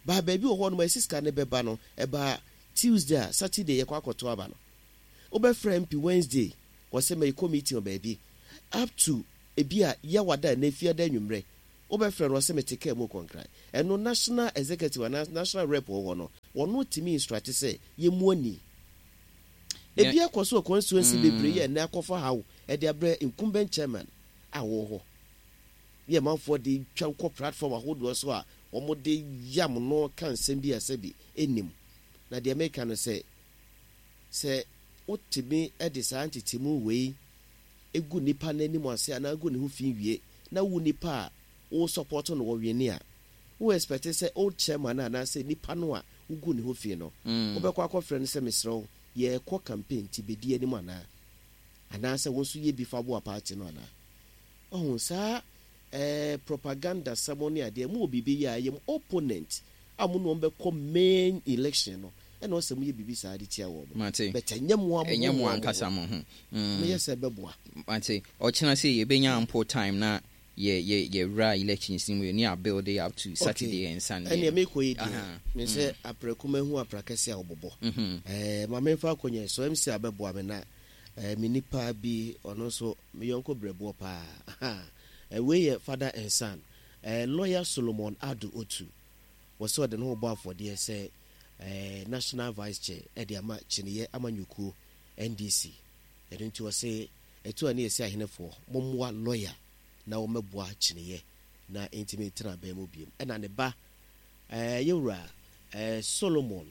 Baa baabi wɔ hɔ nom a ɛsi sika ne bɛba no, ɛbaa Tuesday a, Saturday yɛkɔ akɔto aba no. Wobɛfrɛ M P Wednesday, wɔsɛ mɛyɛ committee wɔ baabi up to ebi a yɛwada na efiada anwummerɛ wobɛfrɛ no, ɔsɛ mete kaa mu kɔnkran. Ɛno national executive anaa national rep wɔ hɔ no, wɔno tumi instruct sɛ yɛmu ani ebi akɔ so wɔ constituency bebree yɛ ɛnɛ akɔfa haw ɛde abrɛ incumbent chairman a wɔwɔ hɔ yɛ manfoɔ de twa kɔ platform ahodoɔ so a wɔn de yam no ka nsɛm bi a sɛbi ɛnim. Na deɛ meka no sɛ sɛ wotumi de saa ntetemu wei egu nipa n'anim ase anaa egu ne ho fi wie na wo nipa a wo support no wɔ wini a, wo expect sɛ old chairman anaasɛ nipa no a wogu ne ho fi no, wobɛkɔ akɔfrɛ no sɛ, "Mesrɛ wo, yɛrekɔ campaign nti bɛdi anim," anaa anaasɛ wo nso yɛ bi fa boa party no anaa? Ɔho saa ɛɛ propaganda sɛm ne adeɛ mu wɔ biribi yɛ a ɛyɛ mu opponent a mo na wɔn bɛkɔ main election no, ɛna ɔsɛ mo yɛ biribi saa de tia wɔn. Mate. But ɛnyɛ mo a mo ɛnyɛ mo ho ankasa mo ho Mm. Meyɛ sɛ ɛbɛboa. Mate. Ɔkyena sɛ yɛbɛnya ample time na yɛ yɛ yɛwura elections no mu ne a build it up to Saturday and Sunday. Ɛnea mekɔ yi deɛ, Aha. me sɛ aprɛko mahu aprakɛse a wɔbobɔ. Mhm. ɛɛ ma memfa akonnwa so M C abɛboa me na ɛɛ me nipa bi, ɔno nso me yɔnko brɛboɔ paa. Aha. ɛɛ wei yɛ father and son, ɛɛ Lawyer Solomon Ado Otu. Wɔsɛ ɔde ne ho bɔ afɔdeɛ sɛ ɛɛ national vice chair ɛde ama kyiniiɛ amanyɔkuo N D C. Ɛno nti wɔsɛ ɛtu a ne yɛsi ahenefoɔ mommoa lawyer na wɔmmɛboa kyiniiɛ na ntumi ntena abɛn mu biem. Ɛna ne ba ɛɛ yɛwura ɛɛ Solomon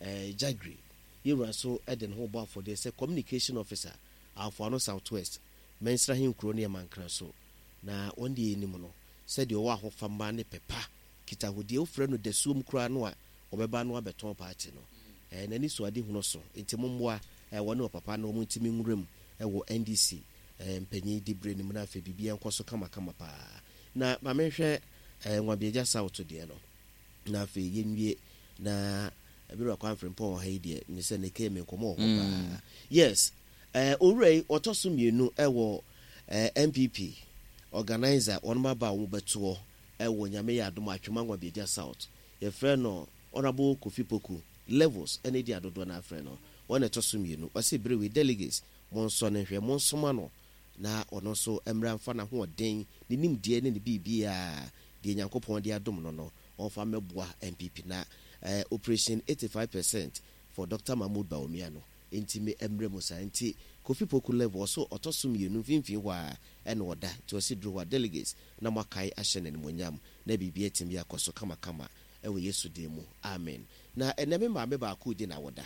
ɛɛ Jagri, yɛwura nso ɛde ne ho bɔ afɔdeɛ sɛ communication officer, Afoano South West Mɛnsira Henkuro ne Ɛmankra so. Na wɔn deɛ anim no sɛdeɛ ɔwɔ ahofama ne pɛpa kitahodie, wofrɛ no dasuom koraa no a, wɔbɛba no abɛtɔn party no. ɛɛ n'ani so ade hunu so nti mommoa ɛɛ wɔne ɔpapa no wɔn ntumi nwura mu ɛwɔ N D C ɛɛ mpanyin dibere no mu na afei biribiara nkɔ so kamakama paa. Na maame hwɛ ɛɛ Nwabiagya South deɛ no na afei yɛnwie na ɛbɛrɛ kwan Frimpɔn wɔ ha yi deɛ ne sɛ ne kee me nkɔmɔ wɔ hɔ paa. Yes, ɛɛ owura yi ɔtɔ so mmienu ɛwɔ ɛɛ N P P organizer wɔn aba a wɔn bɛtoɔ ɛwɔ Nyame yɛ adom Atwima Nwabiagya South. Yɛfrɛ no Honourable Kofi Poku Levels, ɛne di adodoɔ no afrɛ no. Wɔn na ɛtɔ so mmienu. Ɔsi bere wei delegates mo nsɔ ne hwɛ, mo nsoma no na ɔno nso mmra mfa n'ahoɔden, ne nimdeɛ ne ne biribiara deɛ Nyankopɔn de adom no no ɔmfa mmɛboa N P P na eh, operation eighty-five percent for Doctor Mahmood Bawumia no ntimi mmerɛ mu saa. Nti Kofi Poku Level ɔso ɔtɔ so mmienu mfimfini hɔ a ɛna ɔda. Nti ɔsi duro hɔ a, delegates na moakae ahyɛ n'animonyam na biribi atumi akɔ so kamakama ɛwɔ Yesu din mu, amen. Na ɛnɛ me maame baako di na wɔda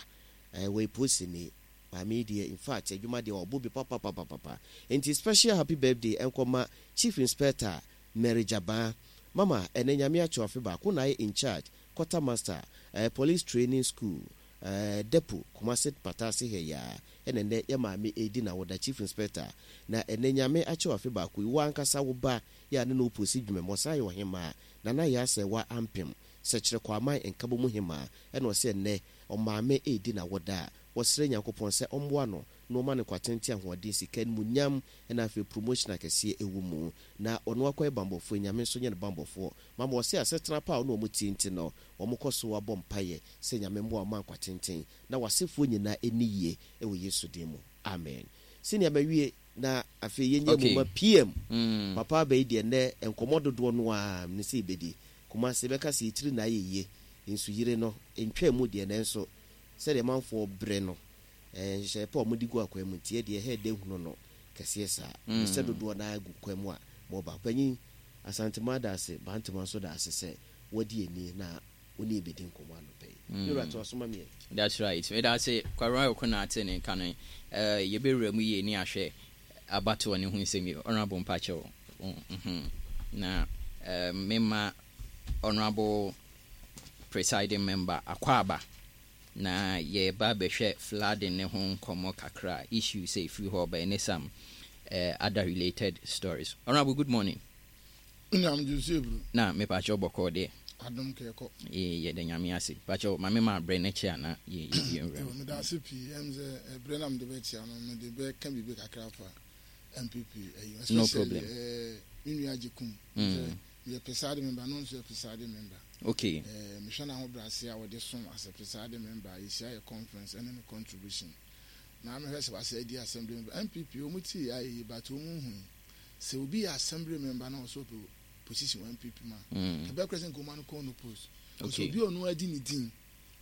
ɛɛ wɔ eposini maame yi deɛ, in fact, adwuma deɛ ɔbɔ bi papapapapa. Nti special happy birthday ɛnkɔma Chief Inspector Mary Jaban. Mama, ɛnɛ Nyame akyɛ afe baako na ayɛ in charge quarter master ɛɛ Police Training School ɛɛ Depot, Kumase Patase ha yaa. Ɛna ɛnɛ yɛ maame edi na wɔda, Chief Inspector, na ɛnɛ Nyame akyɛ afe baako yi, wo ankasa wo ba yɛ a ne na oposi dwuma mu ɔsan yɛ ɔhemaa Nana yɛ asɛ wa ampem sɛkyerɛ kwaman nkabɔ mu hemaa. Ɛna ɔsɛ ɛnɛ ɔmaame edi na wɔda a, wɔsrɛ Nyankopɔn sɛ ɔmmoa no na ɔma no kwatente, ahoɔden, sika, animuonyam, ɛna afei promotion akɛseɛ ɛwɔ mu na ɔno akɔyɛ bambɔfoɔ. Nyame nso nyɛ no bambɔfoɔ. Mama, ɔsɛ asetena pa a ɔne ɔmo tie nti no, wɔn kɔ so abɔ mpayɛ sɛ Nyame mmoa ɔma nkwatenten na wasefoɔ nyinaa ɛni yie ɛwɔ Yesu din mu, amen. Sɛnea mawie na afei yɛnyɛ Okay. mu ma P M. Mm. Papa aba yi deɛ, nnɛ nkɔmmɔ dodoɔ no a ne sɛ yɛbɛdi Kumase bɛka sɛ yɛtiri na ayɛ yie nso yere no ntwa mu deɛ, nanso sɛdeɛ manfoɔ brɛ no, ɛɛ nhyehyɛeɛ pa a wɔde gu akwan mu nti yɛ deɛ ɛhɛ dɛ hunu no kɛseɛ saa mm. Sɛ dodoɔ no agu kwan mu a mɔba panyin Asantema da ase, Bantama nso da ase sɛ wɔde ani na wɔne yɛbɛdi nkɔmmɔ anɔpɛ yi mm. Yɛwura to asoma miɛ. That's right. Meda ase Kwara ɔko na ate ne nka no. uh, yɛbɛwura mu yie ne ahwɛ abatoɔ ne ho nsɛm yi. Honorable, mpakyɛw, mm na uh, mema honorable presiding member akwaaba na yɛba bɛhwɛ flooding ne ho nkɔmmɔ kakra, issues sɛ ɛfiri hɔ ɔbɛn ne some uh, other related stories. Honorable, good morning. Nyam Joseph. Na mepakyɛw, bɔkɔɔ deɛ? Adom kɛkɔ. Yɛda Nyame ase. Pakyɛw, ma mema abrɛ no kyɛ ana yɛnwura mu. Meda ase pii. Ɛm sɛ ɛberɛ na mede bɛkyia no, mede bɛka biribi kakra fa N P P ɛyi. No Especially problem. ɛɛ me nua Agyekum. Mm. Meyɛ presiding member, no nso yɛ presiding member. Okay ɛɛ mehwɛ n'ahobrɛase a wɔde som as a presiding member, yɛhyia yɛ conference ɛne ne contribution na mehwɛ sɛ wasɛ adi assembly member. N P P wɔn ti yɛ ayɛ yi, but wɔn hu sɛ obi yɛ assembly member na ɔsɔ pɛ position wɔ N P P ma Mm. ɛbɛ kora sɛ nkɔmɔ no kɔn no post. Okay. Obi a ɔno adi ne din.